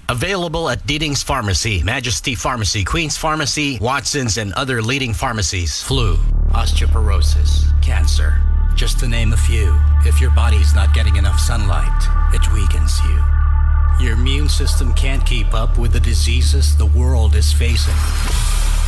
Available at Diding's Pharmacy, Majesty Pharmacy, Queen's Pharmacy, Watson's, and other leading pharmacies. Flu, osteoporosis, cancer, just to name a few. If your body's not getting enough sunlight, it weakens you. Your immune system can't keep up with the diseases the world is facing.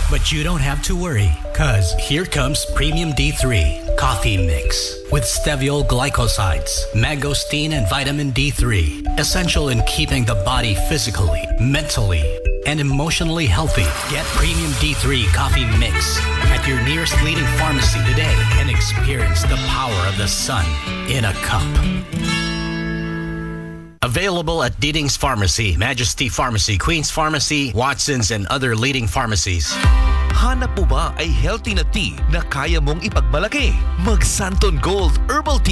But you don't have to worry, 'cause here comes Premium D three Coffee Mix with steviol glycosides, mangosteen, and vitamin D three, essential in keeping the body physically, mentally, and emotionally healthy. Get Premium D three Coffee Mix at your nearest leading pharmacy today and experience the power of the sun in a cup. Available at Diding's Pharmacy, Majesty Pharmacy, Queen's Pharmacy, Watson's, and other leading pharmacies. Hanap mo ba ay healthy na tea na kaya mong ipagmalaki? Mag Santon Gold Herbal Tea.